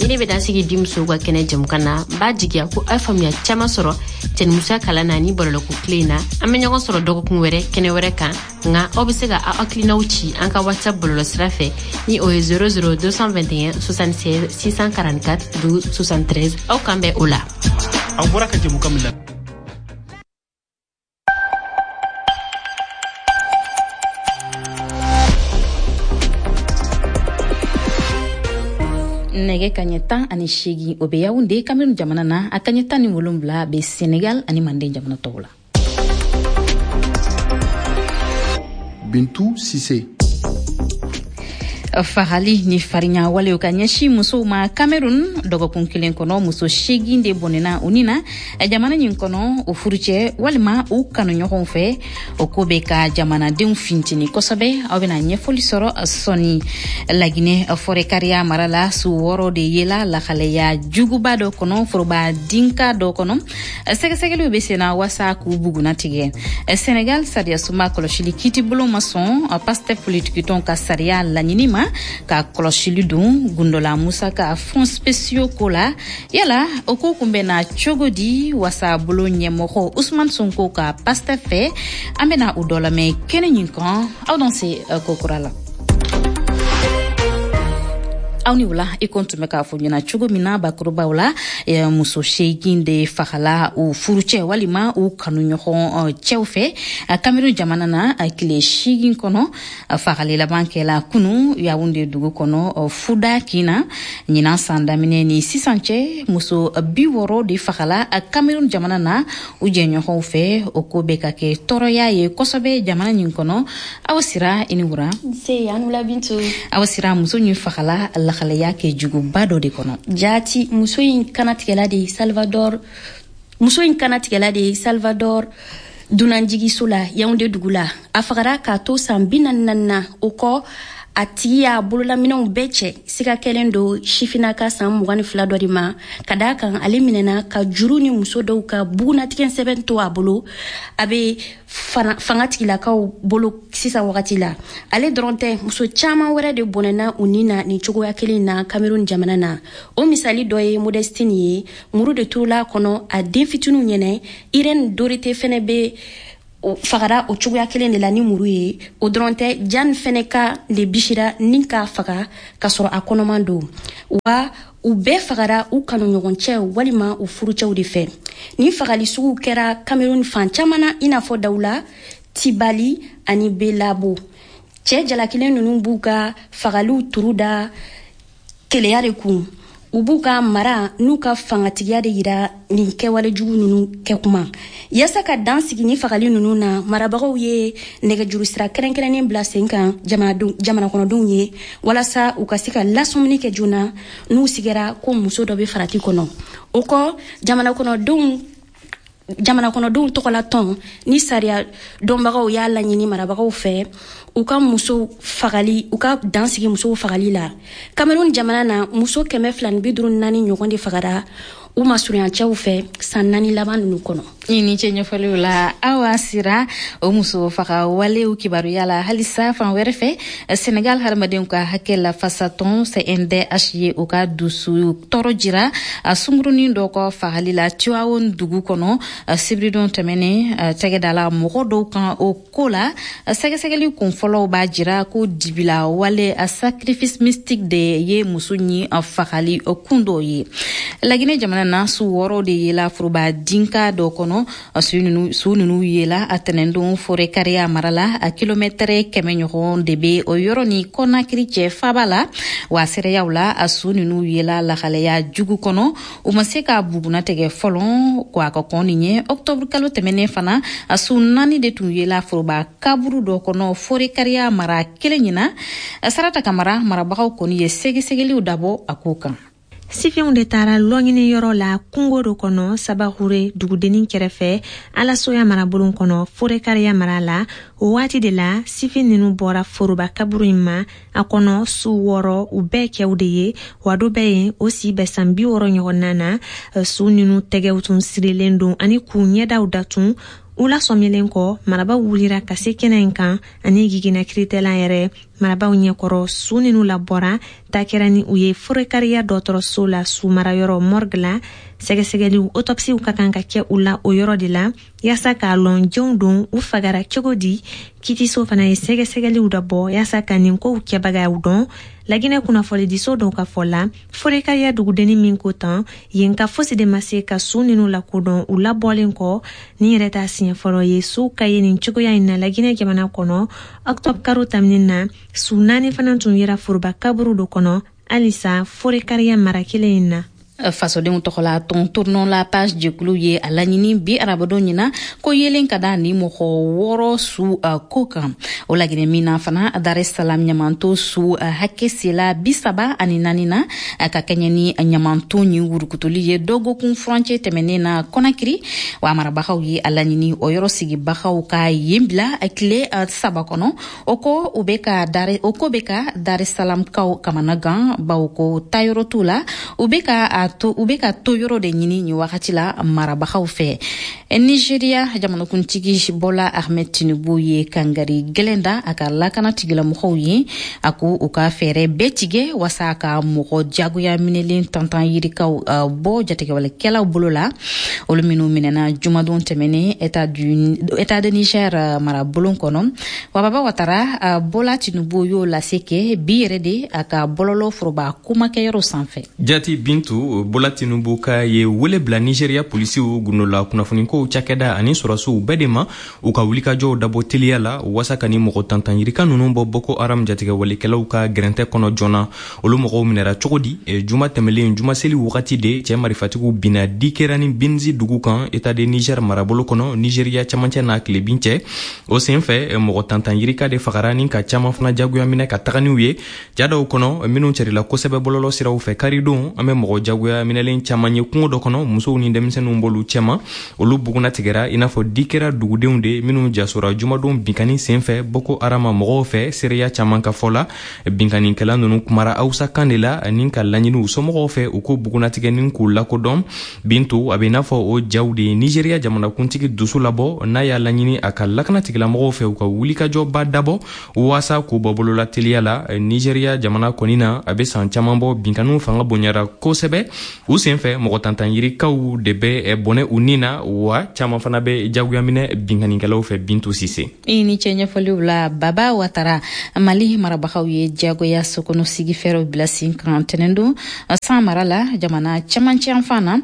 Ni ne bɛ dan sigi di musow ka kɛnɛ jɛmukan na, n b'a jigiya ko aw ye faamuya caman sɔrɔ cɛnimusoya kalan na ni bɔlɔlɔko tile in na. An bɛ ɲɔgɔn sɔrɔ dɔgɔkun wɛrɛ kɛnɛ wɛrɛ kan, nka aw bɛ se ka aw hakilinaw ci an ka WhatsApp bɔlɔlɔ sira fɛ ni o ye zéro zéro deux cent vingt et un soixante-seize six cent quarante-quatre douze soixante-treize. Aw kan bɛn o la. Aw bɔra ka jɛmukan min la. Nɛgɛ kaɲɛ tan ani seegin, o bɛ Yaoundé, Cameroun jamana na, a kaɲɛ tan ni wolonwula bɛ Senegal ani Manden jamana tɔw la. Bintou Cissé. Fagali ni farinya walew ka ɲɛsin musow ma Cameroun, dɔgɔkun kelen kɔnɔ, muso seegin de bɔnɛna u ni na jamana nin kɔnɔ, o furucɛ walima u kanuɲɔgɔnw fɛ. O ko bɛ ka jamanadenw fintini kosɛbɛ. Aw bɛna ɲɛfɔli sɔrɔ sɔni. Laginɛ fɔrɛkariya mara la, su wɔɔrɔ de yela lahalaya juguba dɔ kɔnɔ, foroba dinka dɔ kɔnɔ. Sɛgɛsɛgɛliw bɛ senna wasa k'u buguna tigɛ. Senegal sariyasuma kɔlɔsili kiitibulon ma sɔn Pastef politikitɔn ka sariya laɲini ma ka kɔlɔsili don gundola musaka fonds spéciaux ko la. Yala o ko kun bɛ na cogo di wasabulon ɲɛmɔgɔ Ousmane Sonko ka Pastef fɛ? An bɛna o dɔ lamɛn kɛnɛ nin kan. Aw dan se ko kura la. Aw ni wula. I ko tun bɛ k'a fɔ ɲɛna cogo min na bakurubaw la, muso seegin de fagala u furucɛ walima u kanuɲɔgɔn cɛw fɛ Cameroun jamana na tile seegin kɔnɔ. Fagali laban kɛla kunu Yaoundé dugu kɔnɔ, Fuda kin na. Ɲinan san daminɛ ni sisan cɛ, muso bi wɔɔrɔ de fagala Cameroun jamana na u jɛɲɔgɔnw fɛ. O ko bɛ ka kɛ tɔɔrɔya ye kosɛbɛ jamana nin kɔnɔ. Aw sira, i ni wura. Nse, an wula Bintu. Aw sira, muso nin fagala lahalaya kɛ juguba dɔ de kɔnɔ. Jaati, muso in kanatigɛla de Salvador Muso in kanatigɛla de ye Salvador dunanjigiso la Yaoundé dugu la. A fagara k'a to san bi naani naani na. O kɔ, a tigi y'a bololaminɛw bɛɛ cɛ. Siga kɛlen don sifinnaka san mugan ni fila dɔ de ma, ka d'a kan ale minɛna ka juru ni muso dɔw ka bugunatigɛ sɛbɛn to a bolo. A bɛ fanga tigilakaw bolo sisan wagati la. Ale dɔrɔn tɛ, muso caman wɛrɛ de bɔnɛna u ni na nin cogoya kelen na Cameroun jamana na. O misali dɔ ye Modestine ye, muru de turula kɔnɔ a den fitininw ɲɛnɛ. Irène Dorothée fɛnɛ bɛ fagara o cogoya kelen de la ni muru ye. O dɔrɔn tɛ, Jan fɛnɛ ka le bisira ni k'a faga k'a sɔrɔ a kɔnɔman don. Wa u bɛɛ fagara u kanuɲɔgɔncɛw walima u furucɛw de fɛ. Nin fagali suguw kɛra Cameroun fan caman na, i n'a fɔ Dawula, Tibali ani Belabo. Cɛ jalakilen ninnu b'u ka fagaliw turu da keleya de kun. U b'u ka mara n'u ka fangatigiya de yira nin kɛwale jugu ninnu kɛkuma. Yaasa ka dan sigi ni fagali ninnu na, marabagaw ye nɛgɛjuru sira kɛrɛnkɛrɛnnen bila sen kan jamana kɔnɔdenw ye, walasa u ka se ka lasɔmini kɛ joona n'u sigara ko muso dɔ bɛ farati kɔnɔ. O kɔ, jamana kɔnɔdenw jamana kɔnɔdenw tɔgɔla tɔn ni sariya dɔnbagaw y'a laɲini marabagaw fɛ u ka muso fagali, u ka dan sigi musow fagali la. Cameroun jamana na, muso kɛmɛ fila ni bi duuru naani ɲɔgɔn de fagara u masurunyancɛw fɛ san naani laban ninnu kɔnɔ. I ni ce ɲɛfɔliw la. Awa Sira, o muso faga walew kibaruya la halisa fan wɛrɛ fɛ, Senegal hadamadenw ka hakɛ lafasatɔn C N D H ye o ka dusu tɔɔrɔ jira sungurunin dɔ kɔ fagali la Tivaouane dugu kɔnɔ sibiridon tɛmɛnen. Tɛgɛ dala mɔgɔ dɔw kan o ko la. Sɛgɛsɛgɛli kun fɔlɔw b'a jira ko dibila wale, sacrifice mystique de ye muso ɲi fagali kun dɔw ye. Laginɛ jamana na, su wɔɔrɔ de yela foroba dinka dɔ kɔnɔ. Su ninnu yela a tɛnɛndon Forécariah mara la. A kilomɛtɛrɛ kɛmɛ ɲɔgɔn de be o yɔrɔ ni Kɔnakiri cɛ faba la. Wa seereyaw la, a su ninnu yela lahalaya jugu kɔnɔ, u ma se ka buguna tigɛ fɔlɔ ko a ka kɔn nin ye. Ɔktɔburu kalo tɛmɛnen fana, a su naani de tun yela foroba kaburu dɔ kɔnɔ Forécariah mara kelen ɲina. Sarata Kamara, marabagaw kɔni ye sɛgɛsɛgɛliw dabɔ a ko kan. Sifinw de taara lɔɲini yɔrɔ la kungo dɔ kɔnɔ Sabahure dugudennin kɛrɛfɛ, Alasoya marabolon kɔnɔ, Forécariah mara la. O waati de la, sifin ninu bɔra foroba kaburu in ma. A kɔnɔ su wɔɔrɔ, u bɛɛ kɛw de ye, wa dɔ bɛ yen, o si bɛ san bi wɔɔrɔ ɲɔgɔnna na. Su ninu tɛgɛw tun sirilen don ani k'u ɲɛdaw datun. U lasɔmilen kɔ, marabaw wulira ka se kɛnɛ in kan ani gigina kiritɛla yɛrɛ. Marabaw ɲɛkɔrɔ, su ninu labɔra, ta kɛra ni u ye Forécariah dɔgɔtɔrɔso la, su marayɔrɔ morgue la. Sɛgɛsɛgɛliw, autopsiw ka kan ka kɛ u la o yɔrɔ de la, yaasa k'a lɔn jɔnw don, u fagara cogo di. Kitiso fana ye sɛgɛsɛgɛliw dabɔ yaasa ka nin kow kɛbagaw dɔn. Laginɛ kunnafonidiso dɔw ka fɔ la, Forécariah dugudennin min ko tan yen ka fosi de ma se ka su ninu lakodɔn u labɔlen kɔ. Nin yɛrɛ t'a siɲɛ fɔlɔ ye suw ka ye nin cogoya in na Laginɛ jamana kɔnɔ. Ɔktɔbr karo taminin na, su naani fana tun yera foroba kaburu dɔ kɔnɔ halisa Forécariah mara kelen in na. Fasodenw tɔgɔla tɔn Tournons la page jɛkulu ye a laɲini bi arabadon ɲina ko yelen ka da ni mɔgɔ wɔɔrɔ su ko kan. O laginɛ min na fana, Dar es Salaam ɲamanto su hakɛ sela bi saba ani naani na, ka kɛɲɛ ni ɲamanto ni wurukutuli ye dɔgɔkun furancɛ tɛmɛnen na Kɔnakiri. Wa marabagaw ye a laɲini o yɔrɔ sigibagaw ka yen bila tile saba kɔnɔ. O ko u bɛ ka o ko bɛ ka Dar es Salaam kaw kamana gan, bawo ko taayɔrɔ t'u la. U bɛ ka a to u bɛ ka to yɔrɔ de ɲini nin wagati la marabagaw fɛ. Nigeria jamanakuntigi Bola Ahmed Tinubu ye kangari gɛlɛn da a ka lakana tigilamɔgɔw ye. A ko u ka fɛɛrɛ bɛɛ tigɛ wasa ka mɔgɔ jagoya minɛlen tantan yirikaw bɔ jatigɛwalekɛlaw bolo la, olu minnu minɛna jumadon tɛmɛnen état du état de Niger marabulon kɔnɔ. Wa Baba Watara, Bola Tinubu y'o lase kɛ bi yɛrɛ de a ka bɔlɔlɔ foroba kumakɛyɔrɔ sanfɛ. Jati Bintu, Bola Tinubu ka ye wele bila Nigeria polisiw, gundola kunnafonikow cakɛda ani sɔrɔsiw bɛɛ de ma, u ka wulikajɔw dabɔ teliya la wasa ka ni mɔgɔ tantan yirika nunu bɔ Boko Haram jatigɛwalekɛlaw ka gɛrɛntɛ kɔnɔ joona. Olu mɔgɔw minɛra cogo di? Juma tɛmɛlen, juma seli wagati de, cɛɛ marifatigiw binna Dikera ni Binzi dugu kan, état de Niger marabolo kɔnɔ, Nigeria camancɛ n'a tilebin cɛ. O sen fɛ, mɔgɔ tantan yirika de fagara ni ka caaman fana jagoya minɛ ka taga n'u ye. Ja dɔw kɔnɔ minnu cɛrila kosɛbɛ bɔlɔlɔ siraw fɛ karidon, an bɛ mɔgɔ jagoya jagoya minɛlen caman ye kungo dɔ kɔnɔ, musow ni denmisɛnninw b'olu cɛma. Olu bugunnatigɛra i n'a fɔ di kɛra dugudenw de minnu jasora jumadon binkanni senfɛ Boko Haram mɔgɔw fɛ. Seereya caman ka fɔ la, binkannikɛla ninnu kumara Hausa kan de la ani ka laɲini u somɔgɔw fɛ u ko bugunnatigɛni k'u lakodɔn. Bintu, a bɛ i n'a fɔ o jaw de ye Nigeriya jamanakuntigi dusu labɔ, n'a y'a laɲini a ka lakana tigilamɔgɔw fɛ u ka wulikajɔba dabɔ waasa k'u bɔ bolola teliya la. Nigeriya jamana kɔni na, a bɛ san caman bɔ, binkanniw fanga bonyara kosɛbɛ. U senfɛ, mɔgɔ tantan yirikaw de bɛ bɔnɛ u ni na, wa caman fana bɛ jagoya minɛ binkannikɛlaw fɛ. Bintu Sise, i ni cɛ ɲɛfɔliw la. Baba Watara, Mali marabagaw ye diyagoya sokɔnɔ sigi fɛɛrɛw bila sen kan tɛnɛndon San mara la, jamana cɛmancɛ yanfan na.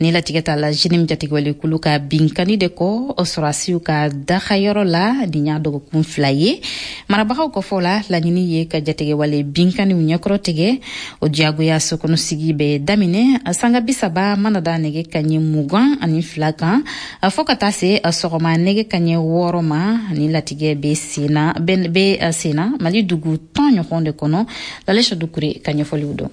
Ni latigɛ ta la JNIM jatigɛwalekulu ka binkanni de kɔ sɔrɔdasiw ka dagayɔrɔ la nin y'a dɔgɔkun fila ye. Marabagaw kɔfɔ la, laɲini ye ka jatigɛwale binkanniw ɲɛkɔrɔ tigɛ. O diyagoya sokɔnɔ sigi bɛ daminɛ sanga bi saba mana da nɛgɛ kaɲɛ mugan ani fila kan fɔɔ ka taa se sɔgɔma nɛgɛ kaɲɛ wɔɔrɔ ma. Ni latigɛ bɛ senna bɛ senna Mali dugu tan ɲɔgɔn de kɔnɔ. Lalesa Dukure ka ɲɛfɔliw dɔn.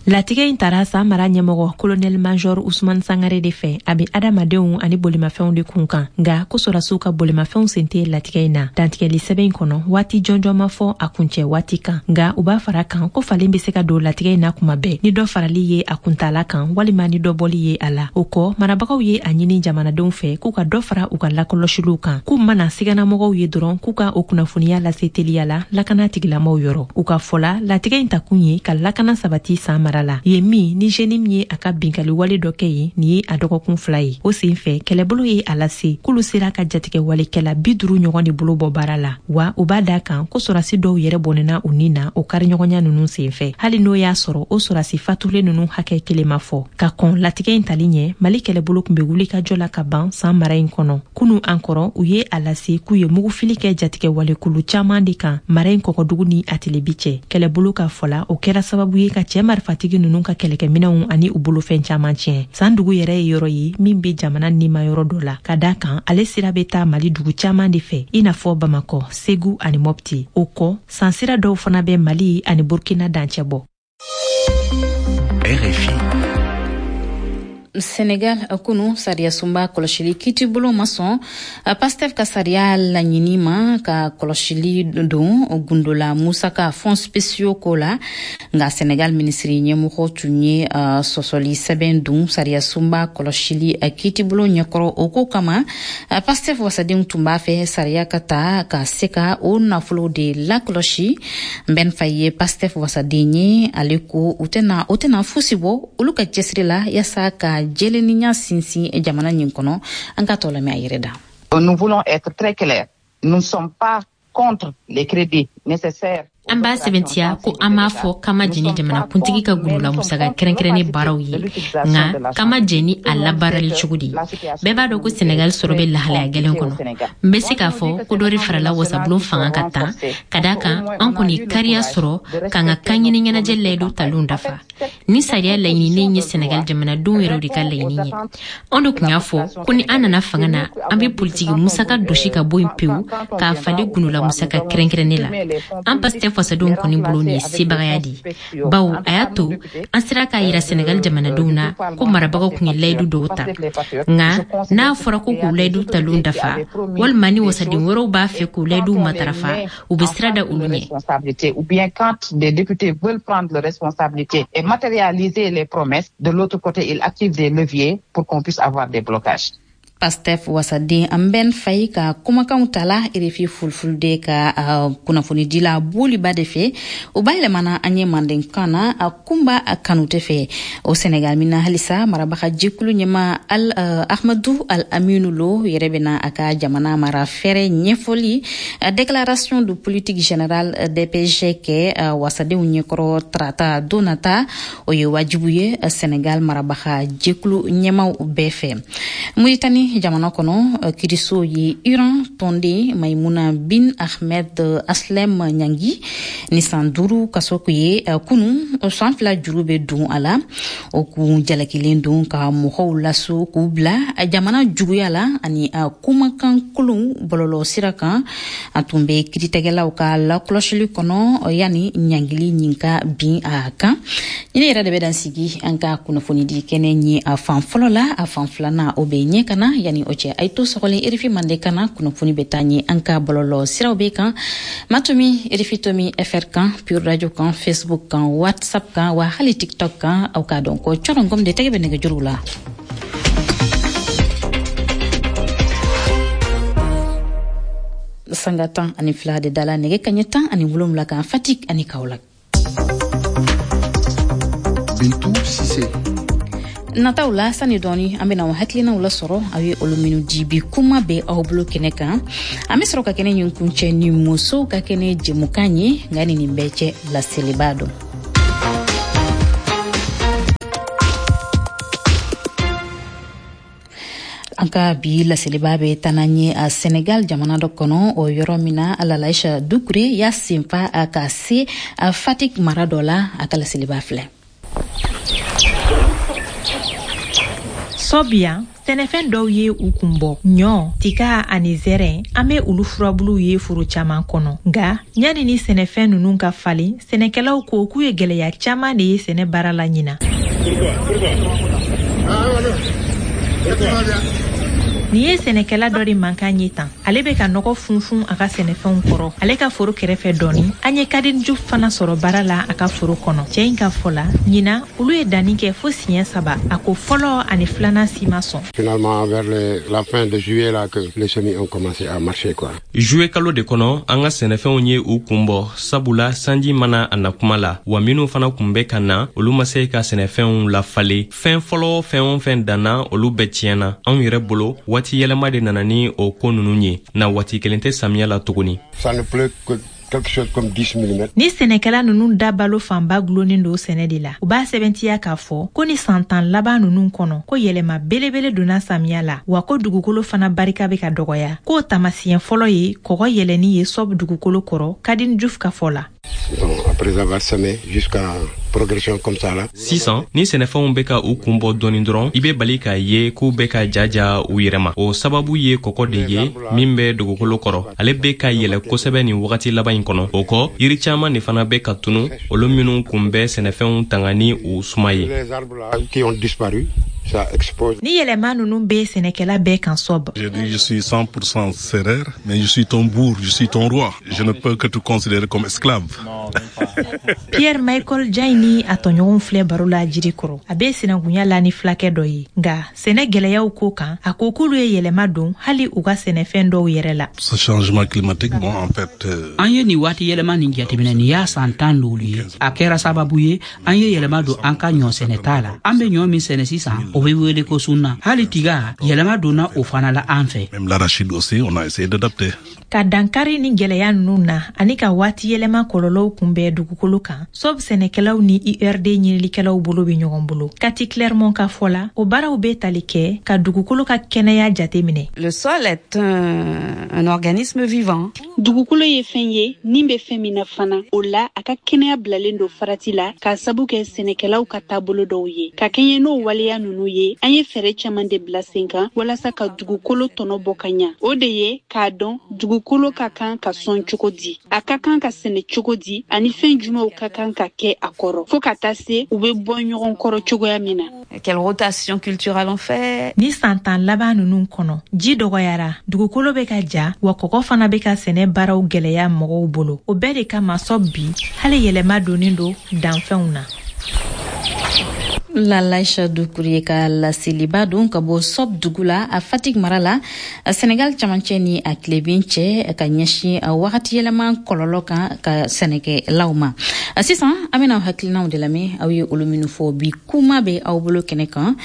Latigɛ in tara San mara ɲɛmɔgɔ kolonɛli major Usman Sangare de fɛ. A bɛ adamadenw ani bolimafɛnw de kun kan, nka ko sɔrɔdasiw ka bolimafɛnw sen tɛ latigɛ in na. Dantigɛli sɛbɛn in kɔnɔ, waati jɔnjɔn ma fɔ a kuncɛ waati kan, nka u b'a fara kan ko falen bɛ se ka don latigɛ in na kuma bɛɛ, ni dɔ farali ye a kuntaala kan walima ni dɔ bɔli ye a la. O kɔ, marabagaw ye a ɲini jamanadenw fɛ k'u ka dɔ fara u ka lakɔlɔsiliw kan, k'u mana siganamɔgɔw ye dɔrɔn k'u ka o kunnafoniya lase teliya la lakana tigilamɔgɔw yɔrɔ. U ka fɔ la, latigɛ in takun ye ka lakana sabati San mara la yen min ni JNIM ye a ka binkali wale dɔ kɛ yen nin ye a dɔgɔkun fila ye. O sen fɛ, kɛlɛbolo ye a lase k'olu sera ka jatigɛ walekɛla bi duuru ɲɔgɔn de bolo bɔ baara la, wa u b'a da kan ko sɔrɔdasi dɔw yɛrɛ bɔnɛna u ni na o kariɲɔgɔnya ninnu sen fɛ, hali n'o y'a sɔrɔ o sɔrɔdasi fatulen ninnu hakɛ kelen ma fɔ. Ka kɔn latigɛ in tali ɲɛ, Mali kɛlɛbolo tun bɛ wulikajɔ la ka ban San mara in kɔnɔ. Kunu an kɔrɔ, u ye a lase k'u ye mugufili kɛ jatigɛ walekulu caman de kan mara in kɔgɔdugu ni a tilebi cɛ. Kɛlɛbolo ka fɔ la, o kɛra sababu ye ka cɛ marifatigi ninnu ka kɛlɛkɛminɛnw ani u bolofɛn caman tiɲɛ. San dugu yɛrɛ ye yɔrɔ ye min bɛ jamana nima yɔrɔ dɔ la, ka da kan ale sira bɛ taa Mali dugu caman de fɛ, i n'a fɔ Bamakɔ, Segu ani Mopti. O kɔ, san sira dɔw fana bɛ Mali ani Burkina dancɛ bɔ. R F I. Senegal, kunu sariya sunba kɔlɔsili kiitibolo ma sɔn Pastef ka sariya laɲini ma ka kɔlɔsili don gundola musaka fonds spéciaux ko la. Nka Senegal minisiri ɲɛmɔgɔ tun ye uh, sɔsɔli sɛbɛn dun sariya sunba kɔlɔsili kiitibolo ɲɛkɔrɔ. O ko kama, Pastef wasadenw tun b'a fɛ sariya ka ta ka se ka o nafolo de lakɔlɔsi. Mbɛn Faye ye Pastef wasaden ye. Ale ko u tɛna o tɛna fosi bɔ olu ka cɛsiri la yaasa ka jɛlennenya sinsin jamana nin kɔnɔ. An ka tɔ lamɛn a yɛrɛ da. Nous voulons être très clairs. Nous ne sommes pas contre les crédits nécessaires. An b'a sɛbɛntiya ko an m'a fɔ k'an ma jɛn ni jamanakuntigi ka gundola musaka kɛrɛnkɛrɛnnen baaraw ye, nka k'an ma jɛn ni a labaarali cogo de ye. Bɛɛ b'a dɔn ko Senegal sɔrɔ bɛ lahalaya gɛlɛn kɔnɔ. N bɛ se k'a fɔ ko dɔ de farala wasabulon fanga ka tan, ka d'a kan an kɔni kariya sɔrɔ k'an ka kanɲini ɲɛnajɛ layidu talenw dafa. Ni sariya laɲininen ye Senegal jamanadenw yɛrɛw de ka laɲini ye. Anw de tun y'a fɔ ko ni an nana fanga na, an bɛ politiki musaka dosi ka bɔ yen pewu k'a falen gundola musaka kɛrɛnkɛrɛnnen la. An Pastef fasadenw kɔni bolo, nin ye sebagaya de ye, bawo a y'a to an sera k'a yira Senegal jamanadenw na ko marabagaw tun ye layidu dɔw ta. Nka n'a fɔra ko k'u layidu talenw dafa, walima ni wasaden wɛrɛw b'a fɛ k'u layiduw matarafa, u bɛ sira da olu ɲɛ. Ou bien quand des députés veulent prendre leurs responsabilités et matérialiser les promesses, de l'autre côté, ils activent des leviers pour qu'on puisse avoir des blocages. Pastef wasaden Mbɛn Fayi ka kumakanw tala R F I Fulfulde ka uh, kunnafonidila Boliba de fɛ. O bayɛlɛmana an ye mandenkan na a Kunba Kanute fɛ. O Senegal min na halisa, marabaga jɛkulu ɲɛma al uh, Ahmadu Al Aminu Lo yɛrɛ bɛna a ka jamana mara fɛrɛ ɲɛfɔli uh, déclaration de politique générale D P G kɛ uh, wasadenw ɲɛkɔrɔ tarata don nata. O ye wajibu ye Senegal marabaga jɛkulu ɲɛmaw bɛɛ fɛ. Muritani Iraki jamana kɔnɔ, kiriso ye Iran tɔnden Maimuna bin Ahmed Aslem ɲangi ni san duuru kaso ye kunu. San fila juru bɛ don a la. O kun jalakilen don ka mɔgɔw laso k'u bila jamana juguya la ani kumakan kolon bɔlɔlɔ sira kan. A tun bɛ kiiritigɛlaw ka lakɔlɔsili kɔnɔ yanni ɲangili nin ka bin a kan. Ni ne yɛrɛ de bɛ dan sigi an ka kunnafonidi kɛnɛ ye a fan fɔlɔ la. A fan filanan, o bɛ ɲɛ ka na. Yanni o cɛ, a ye to sɔgɔlen R F I Mande kana. Kunnafoni bɛ taa ɲɛ an ka bɔlɔlɔ siraw bɛ kan Matomi, R F I Tomi F R kan, Pure Radio kan, Facebook kan, WhatsApp kan, wa hali TikTok kan. Aw k'a dɔn ko cɔrɔngɔm de tɛgɛ bɛ nɛgɛjuru la. Sanga tan ani fila de dala nɛgɛ kaɲɛ tan ani wolonwula kan Fatick ani Kaolack. Bintu Sise. Nataw la, sani dɔɔni an bena hakilinaw lasɔrɔ aw ye olu minnu di bi kuma bɛ aw bolo kɛnɛ kan. An be sɔrɔ ka kɛnɛ ɲin kuncɛ ni musow ka kɛnɛ jɛmukan ye. Nka ni nin bɛɛ cɛ, laseliba don. An ka bi laseliba bɛ taa n'an ye a Senegal jamana dɔ kɔnɔ, o yɔrɔ min na Lalaisha Dukure y'a senfa ka se a Fatick mara dɔ la. A ka laseliba filɛ. Sɔbiya, sɛnɛfɛn dɔw ye u kun bɔ: ɲɔ, tika ani zɛrɛn. An be olu furabuluw ye foro caaman kɔnɔ. Nga ɲani ni sɛnɛfɛn nunu ka falen, sɛnɛkɛlaw ko k'u ye gwɛlɛya caaman de ye sɛnɛ baara la ɲina. Nin ye sɛnɛkɛla dɔ de mankan ye tan. Ale bɛ ka nɔgɔ funfun a ka sɛnɛfɛnw kɔrɔ ale ka foro kɛrɛfɛ dɔɔni. An ye Kadiju fana sɔrɔ baara la a ka foro kɔnɔ. Cɛɛ in ka fɔ la, ɲina olu ye danni kɛ fo siɲɛ saba. A ko fɔlɔ ani filanan si ma sɔn. Finalement, vers les, la fin de juillet, là, que les semis ont commencé à marcher, quoi. Juillet kalo de kɔnɔ, an ka sɛnɛfɛnw ye u kun bɔ, sabula sanji mana a na kuma la, wa minw fana kun bɛ ka na, olu ma se ka sɛnɛfɛnw lafalen. Fɛn fɔlɔ, fɛn o fɛn danna, olu bɛɛ tiɲɛna. Anw yɛrɛ bolo, waati yɛlɛma de nana ni o ko nunu ye na. Waati kelen tɛ samiya la tuguni. Ça ne pleut que quelque chose comme dix millimètres. Ni sɛnɛkɛla nunu da balo fanba gulonnen don sɛnɛ de la, u b'a sɛbɛntiya k'a fɔ ko ni san tan laban nunu kɔnɔ, ko yɛlɛma belebele donna samiya la, wa ko dugukolo fana barika bɛ ka dɔgɔya. K'o tamasiyɛn fɔlɔ ye kɔgɔ yɛlɛni ye Sɔb dugukolo kɔrɔ, Kadin Juf ka fɔ la. Bon, après avoir semé jusqu'à progression comme ça là. Sisan ni sɛnɛfɛnw bɛ ka u kun bɔ dɔɔni dɔrɔn, i bɛ bali k'a ye k'u bɛ ka jaja u yɛrɛ ma. O sababu ye kɔkɔ de ye min bɛ dugukolo kɔrɔ, ale bɛ ka yɛlɛ kosɛbɛ nin wagati laban in kɔnɔ. O kɔ, yiri caaman de fana bɛ ka tunu, olu minnu kun bɛ sɛnɛfɛnw tanga ni u suma ye. Les arbres là qui ont disparu, ça expose. Ni yɛlɛma nunu bɛ sɛnɛkɛla bɛɛ kan Sɔb. Je dis, je suis cent pour cent sérère, mais je suis ton bourg, je suis ton roi. Je ne peux que te considérer comme esclave. Pierre Michael Jai ni a tɔɲɔgɔnw filɛ baro la jiri kɔrɔ. A bɛ sinankunya la ni fulakɛ dɔ ye, nga sɛnɛ gwɛlɛyaw ko kan, a ko k'olu ye yɛlɛma don hali u ka sɛnɛfɛn dɔw yɛrɛ la. Ce changement climatique, bon, en fait, euh, An ye nin waati yɛlɛma nin jateminɛ, nin y'a san tan loolu ye. A kɛra sababu ye an ye yɛlɛma don an ka ɲɔ sɛnɛta la. An be ɲɔ min sɛnɛ sisan, o be wele ko sunna. Hali tiga, yɛlɛma donna o fana la an fɛ. Même l'arachide aussi, on a essayé d'adapter. Ka dankari ni gwɛlɛya nunu na ani ka waati yɛlɛma kɔlɔlɔw kunbɛn dugukolo kan, Sɔb sɛnɛkɛlaw ni I R D ɲinilikɛlaw bolo be ɲɔgɔn bolo. Kati Clermont ka fɔ la, o baaraw be tali kɛ ka dugukolo ka kɛnɛya jate minɛ. Le sol est un, un organisme vivant. Dugukolo ye fɛn ye nin bɛ fɛn min na fana. O la, a ka kɛnɛya bilalen don farati la k'a sabu kɛ sɛnɛkɛlaw ka taabolo dɔw ye. Ka kɛɲɛ n'o waleya nunu ye, an ye fɛɛrɛ caman de bila sen kan walasa ka dugukolo tɔnɔ bɔ ka ɲa. O de ye k'a dɔn dugukolo ka kan ka sɔn cogo di, a ka kan ka sɛnɛ cogo di, ani fɛn jumɛnw ka kan ka kɛ a kɔrɔ, fɔɔ ka taa se u be bɔ ɲɔgɔn kɔrɔ cogoya min na. Quelle rotation culturelle on fait? Ni san tan laban nunu kɔnɔ, ji dɔgɔyara, dugukolo bɛ ka ja, wa kɔgɔ fana bɛ ka sɛnɛ baaraw gwɛlɛya mɔgɔw bolo. O bɛɛ de kama, Sɔb bi, hali yɛlɛma donnen don danfɛnw na. Lalaisha Dukure ka laseliba don ka bɔ Sɔb dugu la, a Fatick mara la, a Senegal camancɛ ni a tilebin cɛ, ka ɲɛsin a wagati yɛlɛma kɔlɔlɔ kan ka sɛnɛkɛlaw ma. Sisan an bɛna hakilinaw de lamɛn aw ye olu minnu fɔ bi kuma bɛ aw bolo kɛnɛ kan.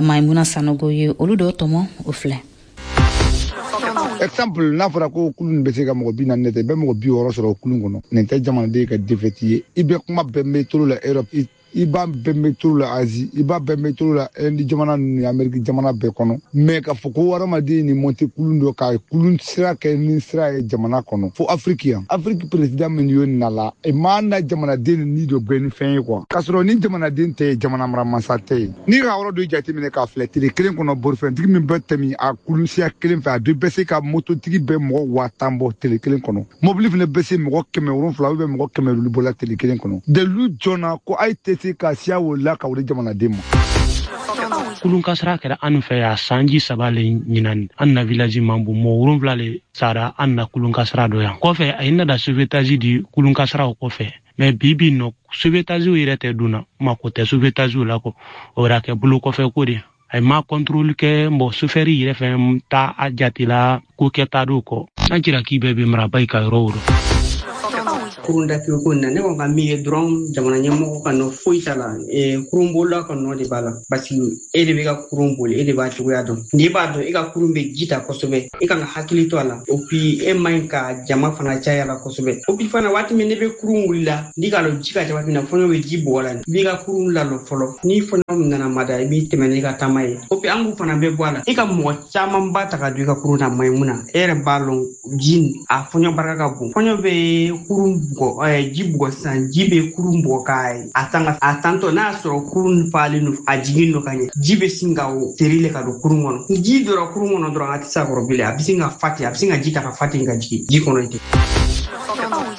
Maimuna Sanogo ye olu dɔ tɔmɔ, o filɛ. Exemple, n'a fɔra ko kulun bɛ se ka mɔgɔ bi naani tɛ, i bɛ mɔgɔ bi wɔɔrɔ sɔrɔ kulun kɔnɔ. Nin tɛ jamanaden ka défaite ye. I bɛ kuma bɛɛ mɛn tolo la Europe. I b'a bɛɛ métro la Asie, i b'a bɛɛ métro la Inde jamana ni Amérique jamana bɛɛ kɔnɔ. Mais k'a fɔ ko hadamaden ni monter kulun dɔ ka kulun sira kɛ ni sira ye jamana kɔnɔ fo Afrique yan. Afrique président min y'o na la, e ma na jamanaden ni dɔ bɛɛ ni fɛn ye quoi. K'a sɔrɔ ni jamanaden tɛ yen, jamana maramasa tɛ yen. N'i ka yɔrɔ dɔ jateminɛ k'a filɛ, tile kelen kɔnɔ bolifɛntigi min bɛ tɛmɛ a kulun siya kelen fɛ, a bɛɛ bɛ se ka mototigi bɛ mɔgɔ waa tan bɔ tile kelen kɔnɔ. Mobili fana bɛ se mɔgɔ kɛmɛ wolonfila ou bien mɔgɔ kɛmɛ duuru bɔ la tile kelen kɔnɔ. Dalilu jɔna ko a ye tɛ se ka siya o la ka o di jamanaden ma. Kulun kasara kɛra an fɛ yan sanji saba le ɲinan, an na village man bon, mɔgɔ wolonfila le sara an na kulun kasara dɔ yan. Kɔfɛ a ye nada sauvetage di kulun kasaraw kɔfɛ, mais bi bi nɔ sauvetage yɛrɛ tɛ dun na, mako tɛ sauvetage la kɔ, o yɛrɛ kɛ bolo kɔfɛ ko de. A ma contrôle kɛ, mɔgɔ chauffeur yɛrɛ fɛn ta a jate la ko kɛta dɔw kɔ. An jira k'i bɛɛ bɛ maraba i ka yɔrɔ o rɔ. Kurun datugu ko in na, ne kɔni ka min ye dɔrɔn, jamana ɲɛmɔgɔ ka nɔ foyi t'a la, kurunbolila ka nɔ de b'a la, parce que e de bɛ ka kurun boli, e de b'a cogoya dɔn. N'i b'a dɔn e ka kurun bɛ ji ta kosɛbɛ, e kan ka hakili to a la. O puis e man ɲi ka jama fana caya la kosɛbɛ. O puis fana waati min ne bɛ kurun wuli la, n'i k'a lɔn ji ka ca waati min na, fɔɲɔ bɛ ji bugɔ la, i b'i ka kurun lalɔ fɔlɔ. Ni fɔɲɔ nana mada, i b'i tɛmɛ n'i ka taama ye. O puis an k'u fana bɛ bɔ a la, e ka mɔgɔ camanba ta ka don i ka kurun na maɲi mun na, e yɛrɛ b'a lɔn ji a fɔɲɔ barika ka bon. Fɔɲɔ bɛ kurun bugɔ, ji bugɔ sisan, ji bɛ kurun bugɔ k'a a tan a tantɔ n'a y'a sɔrɔ kurun falen don, a jigin don ka ɲɛ, ji bɛ sin ka o teri le ka don kurun kɔnɔ. Ni ji donna kurun kɔnɔ dɔrɔn, a tɛ se a kɔrɔ bilen, a bɛ sin ka fa ten, a bɛ sin ka ji ta ka fa ten ka jigin ji kɔnɔ ten.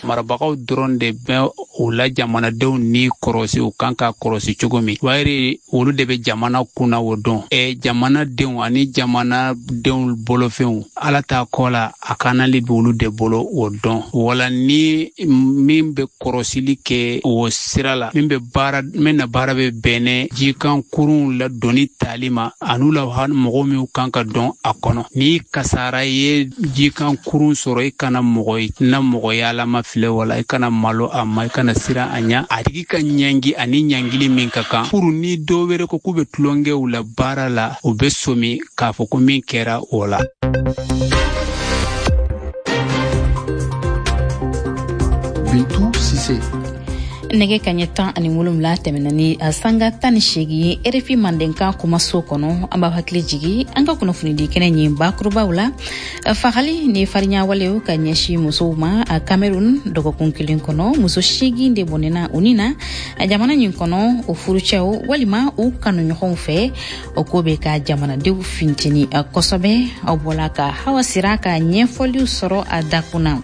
Marabagaw dɔrɔn de bɛ o la jamanadenw ni kɔrɔsi, u kan ka kɔrɔsi cogo min, wayiri olu de bɛ jamana kunna o dɔn. Ɛ jamanadenw ani jamanadenw bolofɛnw, ala t'a kɔ la, a kanali bɛ olu de bolo o dɔn. Wala ni min bɛ kɔrɔsili kɛ o sira la, min bɛ baara, min na baara bɛ bɛnɛ jikan kurunw la doni tali ma, an'u la mɔgɔ minnu kan ka dɔn a kɔnɔ. Ni kasara ye jikan kurun sɔrɔ, i kana mɔgɔ na mɔgɔ yalama filɛ, wala i kana malo a ma, i kana siran a ɲɛ, a tigi ka ɲangi ani ɲangili min ka kan. Furu ni dɔw wɛrɛ ko k'u bɛ tulonkɛw la baara la, u bɛ somi k'a fɔ ko min kɛra o la. Bintu Sise. Nɛgɛ kaɲɛ tan ani wolonwula tɛmɛna ni sanga tan ni seegin ye R F I Mandenkan kumaso kɔnɔ. An b'a hakili jigi an ka kunnafonidi kɛnɛ ɲin bakurubaw la. Fagali ni fariɲawalew ka ɲɛsin musow ma a Cameroun dɔgɔkun kelen kɔnɔ, muso seegin de bɔnɛna u ni na jamana ɲin kɔnɔ o furucɛw walima u kanuɲɔgɔnw fɛ. O ko bɛ ka jamanadenw finteni kosɛbɛ. Aw bɔla ka Hawa Sira ka ɲɛfɔliw sɔrɔ a dakun na.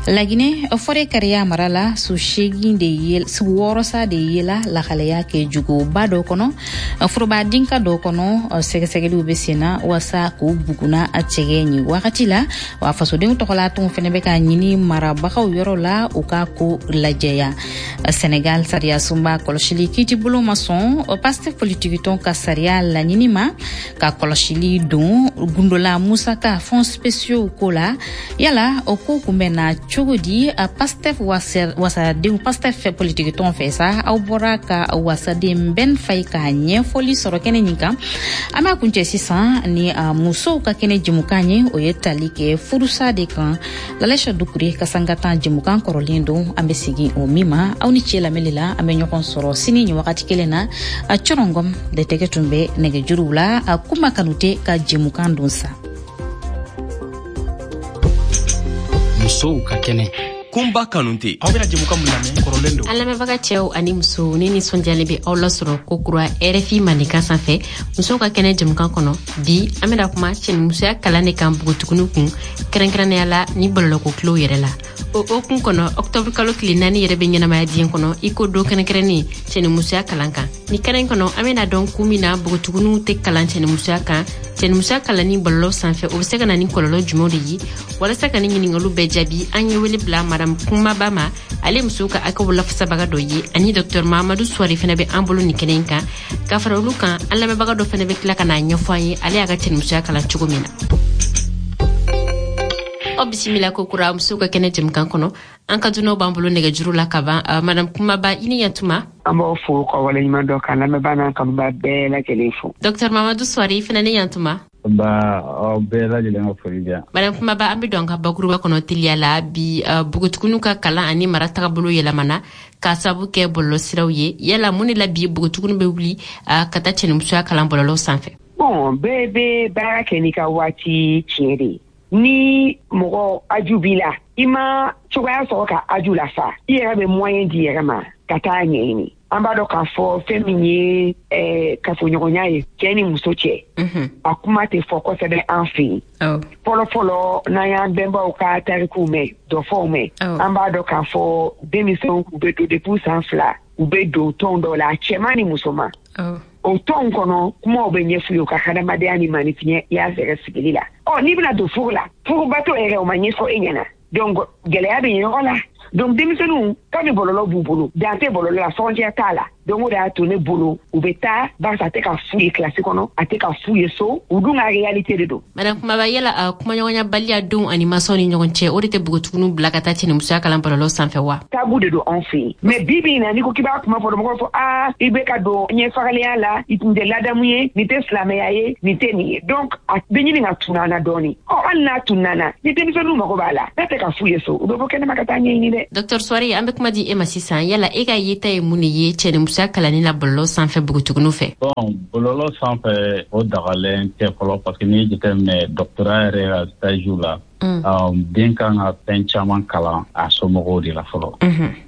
Laginɛ fɔrɛ kariya mara la, su seegin de ye wɔɔrɔ sa de yela lahalaya kɛ juguba dɔ kɔnɔ, foroba dinka dɔ kɔnɔ. Sɛgɛsɛgɛliw bɛ sen na walasa k'u buguna a cɛgɛ ɲin wagati la. Wa fasodenw tɔgɔla tɔnw fɛnɛ bɛ ka ɲini marabagaw yɔrɔ la u ka ko lajɛya. Senegal sariya sunba kɔlɔsili kiitibolo ma sɔn Pastef politikitɔn ka sariya laɲini ma ka kɔlɔsili don gundola musaka fonds spéciaux ko la. Yala o ko kun bɛ na cogo di Pastef wasadenw Pastef politiki tɔn fɛ sa? Aw bɔra ka wasaden Ben Faye ka ɲɛfɔli sɔrɔ kɛnɛ nin kan. An b'a kuncɛ sisan ni musow ka kɛnɛ jɛmukan ye, o ye tali kɛ furusa de kan. Lalɛsa Dukure ka sangatan jɛmukan kɔrɔlen don, an bɛ segin o min ma. Aw ni ce lamɛnli la, an bɛ ɲɔgɔn sɔrɔ sini nin wagati kelen na. A cɔrɔngɔm de tɛgɛ tun bɛ nɛgɛjuruw la, a Kuma Kanute ka jɛmukan don sa. Musow ka kɛnɛ. Kunba Kanute. Aw bɛna jɛmukan min lamɛn kɔrɔlen don. An lamɛnbaga cɛw ani musow, ne nisɔndiyalen bɛ aw lasɔrɔ ko kura R F I Mandenkan sanfɛ musow ka kɛnɛ jɛmukan kɔnɔ. Bi an bɛna kuma cɛnimusoya kalan de kan npogotiginiw kun, kɛrɛnkɛrɛnnenya la ni bɔlɔlɔko kilew yɛrɛ la. O hukumu kɔnɔ, octobre kalo tile naani yɛrɛ bɛ ɲɛnamaya diɲɛ kɔnɔ i ko don kɛrɛnkɛrɛnnen cɛnimusoya kalan kan. Ni kɛnɛ in kɔnɔ, an bɛna dɔn kun min na npogotiginiw tɛ kalan cɛnimusoya kan, cɛnimusoya kalanni bɔlɔlɔ sanfɛ o bɛ se ka na ni kɔlɔlɔ jumɛnw de ye. Walasa ka ni ɲininkaliw bɛɛ jaabi, an ye wele bila Madame Kumaba ma, ale musow ka hakɛw lafasabaga dɔ ye, ani Docteur Mahamadou Souare fana bɛ an bolo nin kɛnɛ in kan. Ka fara olu kan, an lamɛnbaga dɔ fana bɛ tila ka n'a ɲɛfɔ an ye ale y'a ka cɛnimusoya kalan cogo min na. Aw bisimila ko kura musow ka kɛnɛ jɛmukan kɔnɔ. An ka dunanw b'an bolo nɛgɛjuru la ka ban. Madame Kumaba, i ni yantuma. An b'aw fo ka waleɲuman dɔn ka lamɛnbaa n'an kanubaa bɛɛ lajɛlen fo. Docteur Mahamadou Souare, i fana ni yantuma. Ba aw bɛɛ lajɛlen ka foli bɛ yan. Madame Kumaba, an bɛ don an ka bakuruba kɔnɔ teliya la bi. Npogotigininw ka kalan ani mara tagabolo yɛlɛmana k'a sababu kɛ bɔlɔlɔsiraw ye. Yala mun de la bi npogotiginin bɛ wuli ka taa cɛnimusoya kalan bɔlɔlɔ sanfɛ? Bon, bɛɛ bɛ baara kɛ n'i ka waati tiɲɛ de ye. Ni mɔgɔ aju b'i la, i ma cogoya sɔrɔ ka aju lafa, i yɛrɛ bɛ moyen di yɛrɛ ma ka taa ɲɛɲini. An b'a dɔn k'a fɔ fɛn min ye eh, kafoɲɔgɔnya ye cɛ ni muso cɛ, a kuma tɛ fɔ kosɛbɛ an fɛ yen. Fɔlɔ fɔlɔ, n'an y'an bɛnbaw ka tarikuw mɛn, dɔfɔw mɛn, an b'a dɔn k'a fɔ denmisɛnw u bɛ don depuis san fila, u bɛ don tɔn dɔw la, cɛman ni musoman. O tɔn kɔnɔ, kumaw bɛ ɲɛf'u ye u ka hadamadenya ni maanifinya yɛrɛ sigili la. Ɔ n'i bɛna don furu la, furubato yɛrɛ o ma ɲɛfɔ e ɲɛna, donc gɛlɛya bɛ yen yɔrɔ la. Donc denmisɛnninw, kabi bɔlɔlɔ b'u bolo, dan tɛ bɔlɔlɔ la, frontière t'a la. Donc o de y'a to ne bolo u bɛ taa, barisa a tɛ ka f'u ye kilasi kɔnɔ, a tɛ ka f'u ye so, u dun ka réalité de don. Madame Kumaba, yala kumaɲɔgɔnyabaliya denw ani mansaw ni ɲɔgɔn cɛ, o de tɛ npogotigininw bila ka taa cɛnimusoya kalan bɔlɔlɔ sanfɛ wa? Tabou de don anw fɛ yen, mais bi bi in na, n'i ko k'i b'a kuma fɔ, mɔgɔw fɔ aa i bɛ ka don ɲɛfagalenya la, nin tɛ ladamu ye, nin tɛ silamɛya ye, nin tɛ nin ye. Donc a bɛ ɲini ka tunun an na dɔɔnin. Ɔ hali n'a tunun na, ni denmisɛnninw mago b'a la, n'a tɛ ka f'u ye so, u bɛ bɔ kɛnɛma ka taa ɲɛɲini dɛ. Docteur Soare, an bɛ kuma di e ma sisan. Yala e ka yeta ye mun de ye cɛnimusoya kalanni la bɔlɔlɔ sanfɛ npogotigininw fɛ? Bon, bɔlɔlɔ sanfɛ, o dagalen tɛ fɔlɔ, parce que n'i ye jateminɛ doctorat yɛrɛ ka stage la, um, den kan ka fɛn caman kalan a somɔgɔw de la fɔlɔ.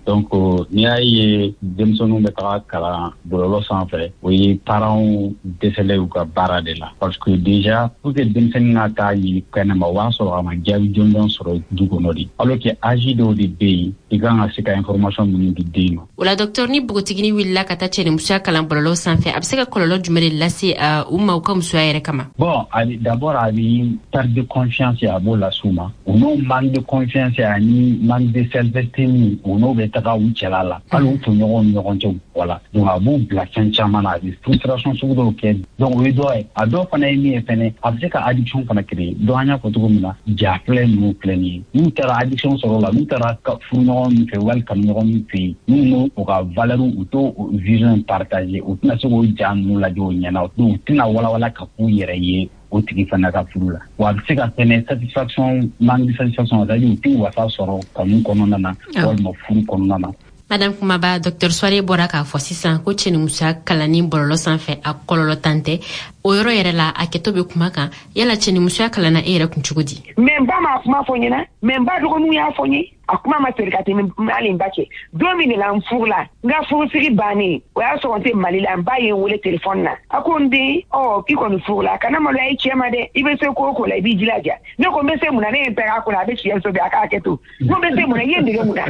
Donc n'i y'a ye denmisɛnninw bɛ taga kalan bɔlɔlɔ sanfɛ, o ye parents dɛsɛlen u ka baara de la, parce que déjà pour que denmisɛnnin ka taa ɲini kɛnɛma, o b'a sɔrɔ a ma jaabi jɔnjɔn sɔrɔ du kɔnɔ de, alors que âge dɔw de bɛ yen i kan ka se ka information minnu di den ma. O la docteur, ni npogotiginin wulila ka taa cɛnimusoya kalan bɔlɔlɔ sanfɛ, a bɛ se ka kɔlɔlɔ jumɛn de lase u ma u ka musoya yɛrɛ kama? Bon, d'abord a bɛ perte de confiance, a b'o lase u ma. U n'o manque de confiance ani manque de self-esteem, u n'o bɛ taga u cɛla la, hali u tɔɲɔgɔnw ni ɲɔgɔn cɛ. Wala donc a b'u bila fɛn caman na, a bɛ frustration sugu dɔw kɛ. Donc o ye dɔ ye. A dɔw fana ye min ye fɛnɛ, a bɛ se ka addiction fana créer. Donc an y'a fɔ cogo min na, ja filɛ ninnu filɛ nin ye, n'u taara addiction sɔrɔ o la, n'u taara furuɲɔgɔn min fɛ wali kanuɲɔgɔn min fɛ yen, n'u n'o u ka valeur, u t'o vision partager, u tɛna se k'o ja ninnu lajɛ o ɲɛna. Donc u tɛna walawala ka k'u yɛrɛ ye o tigi fana ka furu la. Wa a bɛ se ka fɛnɛ satisfaction, manque de satisfaction, c'est à dire u tɛ wasa sɔrɔ kanu kɔnɔna na walima furu kɔnɔna na. Madame Kumaba, docteur Soare bɔra k'a fɔ sisan ko cɛnimusoya kalanni bɔlɔlɔ sanfɛ, a kɔlɔlɔ tan tɛ. O yɔrɔ yɛrɛ la, a kɛtɔ bɛ kuma kan. Yala cɛnimusoya kalanna e yɛrɛ kun cogo di? Mais n ba ma kuma fɔ n ɲɛna, mais n ba dɔgɔninw y'a fɔ n ye. A kuma ma seri ka tɛmɛ hali n ba cɛ. Don min de la n furula, n ka furusiri bannen, o y'a sɔrɔ n tɛ Mali la, n ba ye n wele telefɔni na. A ko n den, ɔ k'i kɔni furula, kana maloya i cɛ ma dɛ, i bɛ se ko o ko la, i b'i jilaja. Ne ko n bɛ se mun na? Ne ye n pɛrɛn a kunna, a bɛ siyɛn so bi, a k'a kɛ to. N ko n bɛ se mun na? I ye n dege mun na?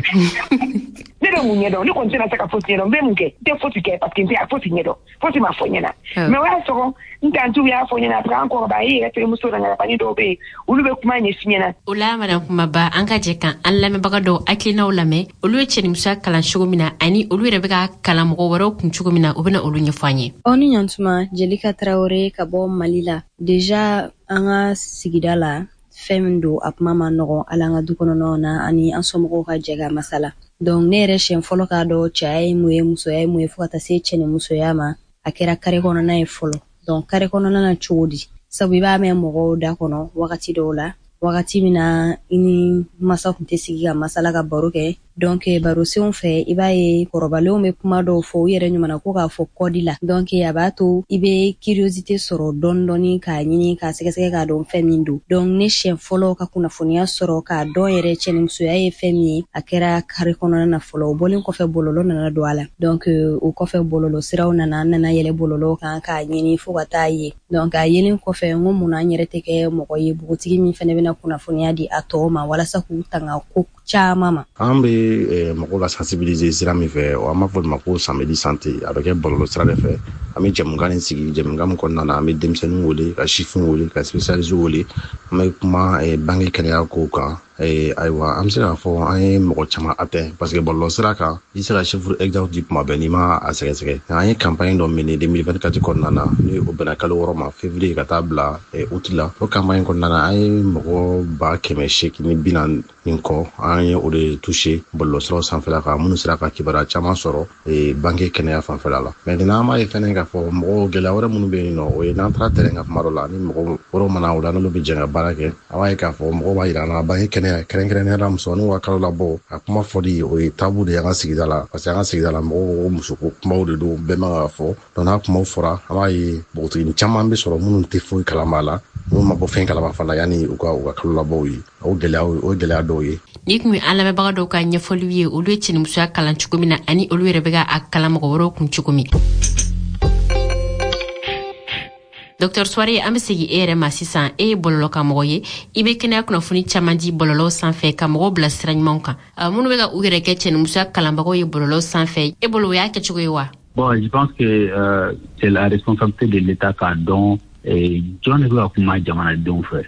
Ne bɛ mun ɲɛdɔn? Ne kɔni tɛna se ka fosi ɲɛdɔn. N bɛ mun kɛ? N tɛ fosi kɛ, parce que n tɛ fosi ɲɛdɔn, fosi ma fɔ n ɲɛna. Mais o y'a sɔrɔ n tantiw y'a fɔ n ɲɛna, après an kɔrɔbaya, i yɛrɛ terimuso la ŋarabani dɔw bɛ yen, olu bɛ kuma ɲɛf'i ɲɛna. O la madame Kumaba, an ka jɛ kan an lamɛnbaga dɔw hakilinaw lamɛn, olu ye cɛnimusoya kalan cogo min na ani olu yɛrɛ bɛ ka kalan mɔgɔ wɛrɛw kun cogo min na, u bɛna olu ɲɛfɔ an ye. Aw ni ɲantuma. Jelika Tarawele ka bɔ Mali la. Déjà an ka sigida la, fɛn min don, a kuma ma nɔgɔn, hali an ka du kɔnɔnaw na ani an somɔgɔw ka jɛ ka masala. Donc ne yɛrɛ siɲɛ fɔlɔ k'a dɔn cɛya ye mun ye, musoya ye mun ye, fo ka taa se cɛ ni musoya ma, a kɛra kare kɔnɔna ye fɔlɔ. Donc kare kɔnɔna na cogo di? Sabu i b'a mɛn mɔgɔw da kɔnɔ wagati dɔw la, wagati min na i ni masa tun tɛ sigi ka masala, ka baro kɛ. Donc barosenw fɛ, i b'a ye kɔrɔbalenw bɛ kuma dɔw fɔ u yɛrɛ ɲuman ko k'a fɔ kɔdi la. Donc a b'a to i bɛ curiosité sɔrɔ dɔɔni dɔɔni k'a ɲini k'a sɛgɛsɛgɛ k'a dɔn fɛn min don. Donc ne siɲɛ fɔlɔ ka kunnafoniya sɔrɔ k'a dɔn yɛrɛ cɛnimusoya ye fɛn min ye, a kɛra kare kɔnɔna na fɔlɔ. O bɔlen kɔfɛ, bɔlɔlɔ nana don a la. Donc o kɔfɛ, bɔlɔlɔ siraw nana, an nana yɛlɛ bɔlɔlɔ kan k'a ɲini fo ka taa ye. Donc a yelen kɔfɛ, n ko munna an yɛrɛ tɛ kɛ mɔgɔ ye, npogotigi min fɛnɛ bɛna kunnafoniya di a tɔw ma walasa k'u tanga ko caman ma? An bɛ mɔgɔw la sensibiliser sira min fɛ, an b'a fɔ o ma ko samedi santé. A bɛ kɛ bɔlɔlɔ sira de fɛ. An bɛ jɛmukan nin sigi, jɛmukan min kɔnɔna na, an bɛ denmisɛnninw wele, ka sifinw wele, ka spécialistes wele. An bɛ kuma bange kɛnɛya kow kan. Ayiwa, an bɛ se k'a fɔ an ye mɔgɔ caman atteint, parce que bɔlɔlɔ sira kan, i se ka chiffre exact di kuma bɛɛ n'i ma a sɛgɛsɛgɛ. An ye campagne dɔ mené deux mille vingt-quatre kɔnɔna na, ni o bɛnna kalo wɔɔrɔ ma, février ka taa bila août la. O campagne kɔnɔna na, an ye mɔgɔ ba kɛmɛ seegin ni bi naani ni kɔ, an ye o de touché bɔlɔlɔ siraw sanfɛla kan, minnu sera ka kibaruya caman sɔrɔ banque kɛnɛya fanfɛla la. Maintenant, an b'a ye fɛnɛ k'a fɔ mɔgɔw gɛlɛya wɛrɛ minnu bɛ yen nɔ, o ye n'an taara terrain kan kuma dɔ la, ni mɔgɔ wɛrɛw mana o la, n'olu bɛ jɛ ka baara kɛ, an b'a ye k'a fɔ mɔgɔw b'a yira an na banque kɛnɛya, kɛrɛnkɛrɛnnenya la musomaninw ka kalo labɔ, a kuma fɔli o ye tabu de ye an ka sigida la, parce que an ka sigida la mɔgɔw ko musoko kumaw de don, bɛɛ man ka fɔ. Donc n'a kumaw fɔra, an b'a ye npogotiginin caman bɛ sɔrɔ minnu tɛ foyi kalama la, minnu ma bɔ fɛn kalama fana yanni u ka u ka kalo labɔw ye. O gɛlɛya o gɛlɛya dɔw ye. Ni kun ye an lamɛnbaga dɔw ka ɲɛfɔliw ye, olu ye cɛnimusoya kalan cogo min na, ani olu yɛrɛ bɛ ka a kalan mɔgɔ wɛrɛw kun cogo min. Docteur Souaré, an bɛ segin e yɛrɛ ma sisan. E ye bɔlɔlɔkanmɔgɔ ye, i bɛ kɛnɛya kunnafoni caman di bɔlɔlɔw sanfɛ ka mɔgɔw bila sira ɲumanw kan. Minnu bɛ ka u yɛrɛ kɛ cɛnimusoya kalanbagaw ye bɔlɔlɔw sanfɛ, e bolo o y'a kɛcogo ye wa? Bon, je pense que euh, c'est la responsabilité de l'État k'a dɔn jɔn de bɛ ka kuma jamanadenw fɛ.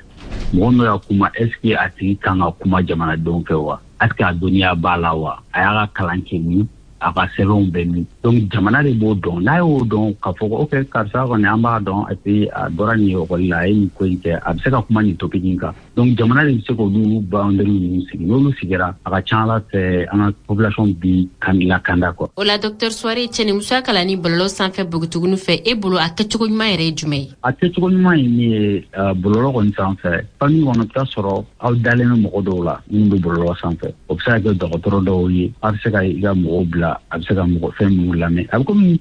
Mɔgɔ min bɛ ka kuma, est ce que a tigi kan ka kuma jamanadenw fɛ wa? Est ce que a dɔnniya b'a la wa? A y'a ka kalan kɛ min? A ka sɛbɛnw bɛ min? Donc jamana de b'o dɔn. N'a y'o dɔn k'a fɔ ko ok, karisa kɔni an b'a dɔn, et puis a bɔra nin ekɔli la, a ye nin ko in kɛ, a bɛ se ka kuma nin topic in kan. Donc jamana de bɛ se k'olu boundary ninnu sigi. N'olu sigira, a ka ca Ala fɛ an ka population bi kan lakanda quoi. O la docteur Souaré, cɛnimusoya kalanni bɔlɔlɔ sanfɛ npogotigininw fɛ, e bolo a kɛcogo ɲuman yɛrɛ ye jumɛn ye? A kɛcogo ɲuman ye min ye, bɔlɔlɔ kɔni sanfɛ, famille kɔnɔ, i bɛ taa sɔrɔ aw dalen bɛ mɔgɔ dɔw la minnu bɛ bɔlɔlɔ sanfɛ. O bɛ se ka kɛ dɔgɔtɔrɔ dɔw ye, a bɛ se ka i ka mɔgɔw bila, a bɛ se ka mɔgɔ fɛn minnu lamɛn. A bɛ komi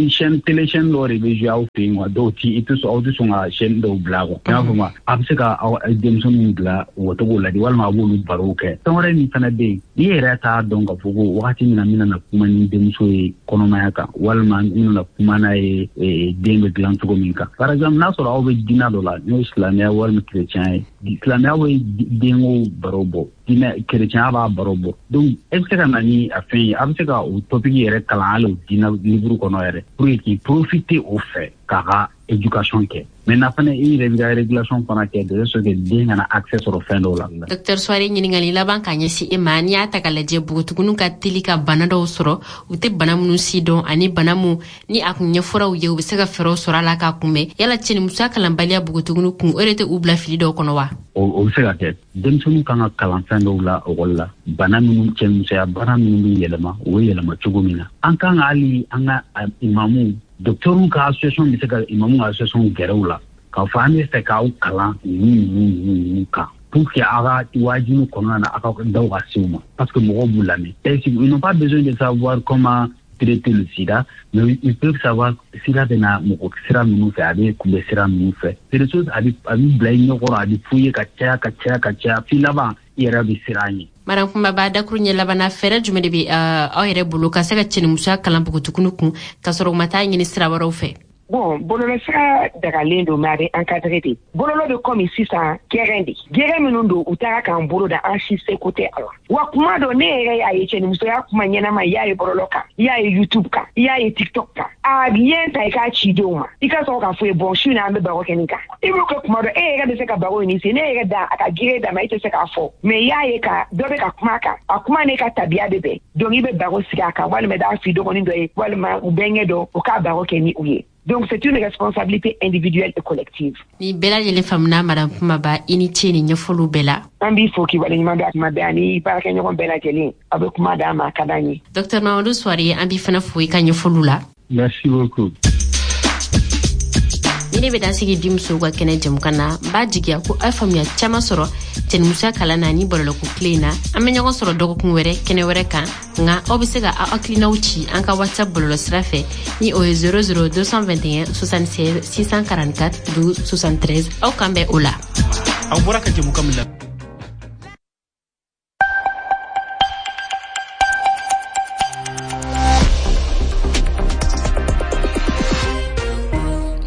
chaîne télé chaîne dɔw de bɛ jouer aw fɛ yen quoi, dɔw ti i tɛ sɔn, aw tɛ sɔn ka chaîne dɔw bila quoi. I y'a faamu, a bɛ se ka aw denmisɛnninw bila u ka to k'o lajɛ, walima a b'olu barow kɛ. Fɛn wɛrɛ min fana bɛ yen, n'i yɛrɛ t'a dɔn k'a fɔ ko wagati min na n bɛna na kuma ni denmuso ye kɔnɔmaya kan, walima n bɛna na kuma n'a ye den bɛ dilan cogo min kan. Par exemple, n'a sɔrɔ aw bɛ diinɛ dɔ la, n'o ye silamɛya walima chrétien ye, silamɛya bɛ denko baro bɔ, diinɛ chrétien b'a baro bɔ. Donc e bɛ se ka na ni a fɛn ye, a bɛ se ka o topic yɛrɛ kalan hali o diinɛ livre kɔnɔ yɛrɛ, pour que k'i profiter o fɛ k'a ka éducation kɛ. Maintenant fana, i yɛrɛ b'i ka régulation fana kɛ de sorte que den kana accès sɔrɔ fɛn dɔw la. Docteur Souaré, ɲininkali laban ka ɲɛsin e ma. N'i y'a ta k'a lajɛ, npogotigininw ka teli ka bana dɔw sɔrɔ, u tɛ bana minnu si dɔn, ani bana mun ni a kun ɲɛfɔra u ye, u bɛ se ka fɛɛrɛw sɔrɔ a la k'a kunbɛn. Yala cɛnimusoya kalanbaliya npogotigininw kun, o de tɛ u bila fili dɔw kɔnɔ wa? O bɛ se ka kɛ. Denmisɛnninw kan ka kalan fɛn dɔw la ekɔli la, bana minnu, cɛnimusoya bana minnu bɛ yɛlɛma, u bɛ yɛlɛma cogo min na. An kan ka hali an ka imamuw, docteurw ka association bɛ se ka imamu ka association gɛrɛ u la k'a fɔ an bɛ fɛ k'aw kalan ninnu ninnu ninnu kan, pour que aw ka wajibi kɔnɔna na, aw ka daw ka se u ma, parce que mɔgɔw b'u lamɛn. Ils n'ont pas besoin de savoir comment traiter le sida, mais ils peuvent savoir sida bɛ na mɔgɔ sira minnu fɛ, a bɛ kunbɛn sira minnu fɛ. C'est des choses a bɛ a bɛ bila i ɲɛkɔrɔ, a bɛ f'u ye ka caya ka caya ka caya, f'i laban i yɛrɛ bɛ siran ɲɛ. Madame Kunbaba, dakuru ɲɛ labanna, fɛɛrɛ jumɛn de bɛ aw yɛrɛ bolo ka se ka cɛnimusoya kalan npogotigininw kun, ka sɔrɔ u ma taa ɲini sira wɛrɛw fɛ? Bon, bɔlɔlɔsira dagalen don, mais a bɛ encadré de. Bɔlɔlɔ bɛ komi sisan gɛrɛn de. Gɛrɛn minnu don, u taara k'an bolo da, an si seko tɛ a la. Wa kuma dɔ, ne yɛrɛ y'a ye cɛnimusoya kuma ɲɛnama, i y'a ye bɔlɔlɔ kan, i y'a ye YouTube kan, i y'a ye TikTok kan. A lien ta i k'a ci denw ma. I ka sɔrɔ k'a fɔ ye, bon, su in na an bɛ baro kɛ nin kan. I b'o kɛ kuma dɔ, e yɛrɛ bɛ se ka baro in se, ne yɛrɛ da a ka gere d'a ma, e tɛ se k'a fɔ. Mais i y'a ye ka dɔ bɛ ka kuma a kan, a kuma n'e ka tabiya bɛ bɛn. Donc i bɛ baro sigi a kan, walima i b'a f'i dɔgɔnin dɔ ye, walima u bɛnkɛ dɔ, o k'a baro kɛ ni u ye. Donc c'est une responsabilité individuelle et collective. Ni bɛɛ lajɛlen faamuna, Madame Kumaba, i ni ce ni ɲɛfɔliw bɛɛ la. An b'i fo k'i waleɲuman dɔn a kuma bɛɛ, ani baarakɛɲɔgɔn bɛɛ lajɛlen. Aw bɛ kuma d'an ma, a ka d'an ye. Docteur Mamadou Souaré, an b'i fana fo i ka ɲɛfɔliw la. Merci beaucoup. Ni ne bɛ dan sigi bi musow ka kɛnɛ jɛmukan na, n b'a jigiya ko aw faamuya caman sɔrɔ cɛnimusoya kalan na ni bɔlɔlɔko tile in na. An bɛ ɲɔgɔn sɔrɔ dɔgɔkun wɛrɛ kɛnɛ wɛrɛ kan, nka aw bɛ se ka aw hakilinaw ci an ka WhatsApp bɔlɔlɔ sira fɛ ni o ye zéro zéro deux cent vingt et un soixante-seize six cent quarante-quatre douze soixante-treize. Aw kan bɛn o la. Aw bɔra ka jɛmukan min la.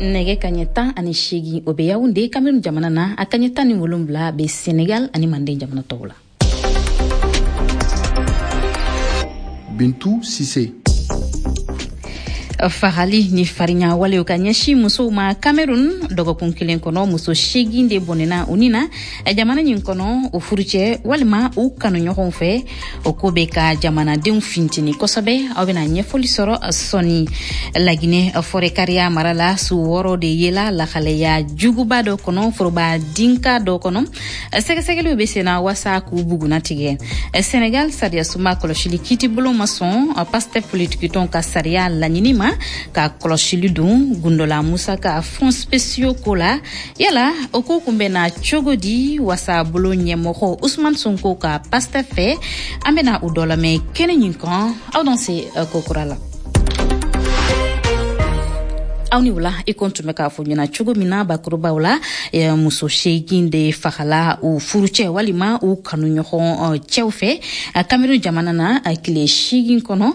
Nɛgɛ kaɲɛ tan ani seegin, o bɛ Yaoundé Cameroun jamana na, a kaɲɛ tan ni wolonwula bɛ Senegal ani Manden jamana tɔw la. Bintou Cissé. Fagali ni farinya walew ka ɲɛsin musow ma Cameroun, dɔgɔkun kelen kɔnɔ, muso seegin de bɔnɛna u ni na jamana nin kɔnɔ, o furucɛ walima u kanuɲɔgɔnw fɛ. O ko bɛ ka jamanadenw fintini kosɛbɛ. Aw bɛna ɲɛfɔli sɔrɔ sɔɔni. Laginɛ, Forécariah mara la, su wɔɔrɔ de yela lahalaya juguba dɔ kɔnɔ, foroba dinka dɔ kɔnɔ. Sɛgɛsɛgɛliw bɛ senna waasa k'u buguna tigɛ. Senegal, sariyasunba kɔlɔsili kiitibulon ma sɔn Pastef politikitɔn ka sariya laɲini ma ka kɔlɔsili don gundola musaka fonds spéciaux ko la. Yala o ko kun bɛ na cogo di wasa bolo ɲɛmɔgɔ Ousmane Sonko ka Pastef fɛ? An bɛna o dɔ lamɛn kɛnɛ ɲin kan. Aw dan se kokura la. Aw ni wula. I ko tun bɛ k'a fɔ ɲɛna cogo min na bakurubaw la, muso seegin de fagala u furucɛ walima u kanuɲɔgɔn cɛw fɛ Kamerun jamana na tile seegin kɔnɔ.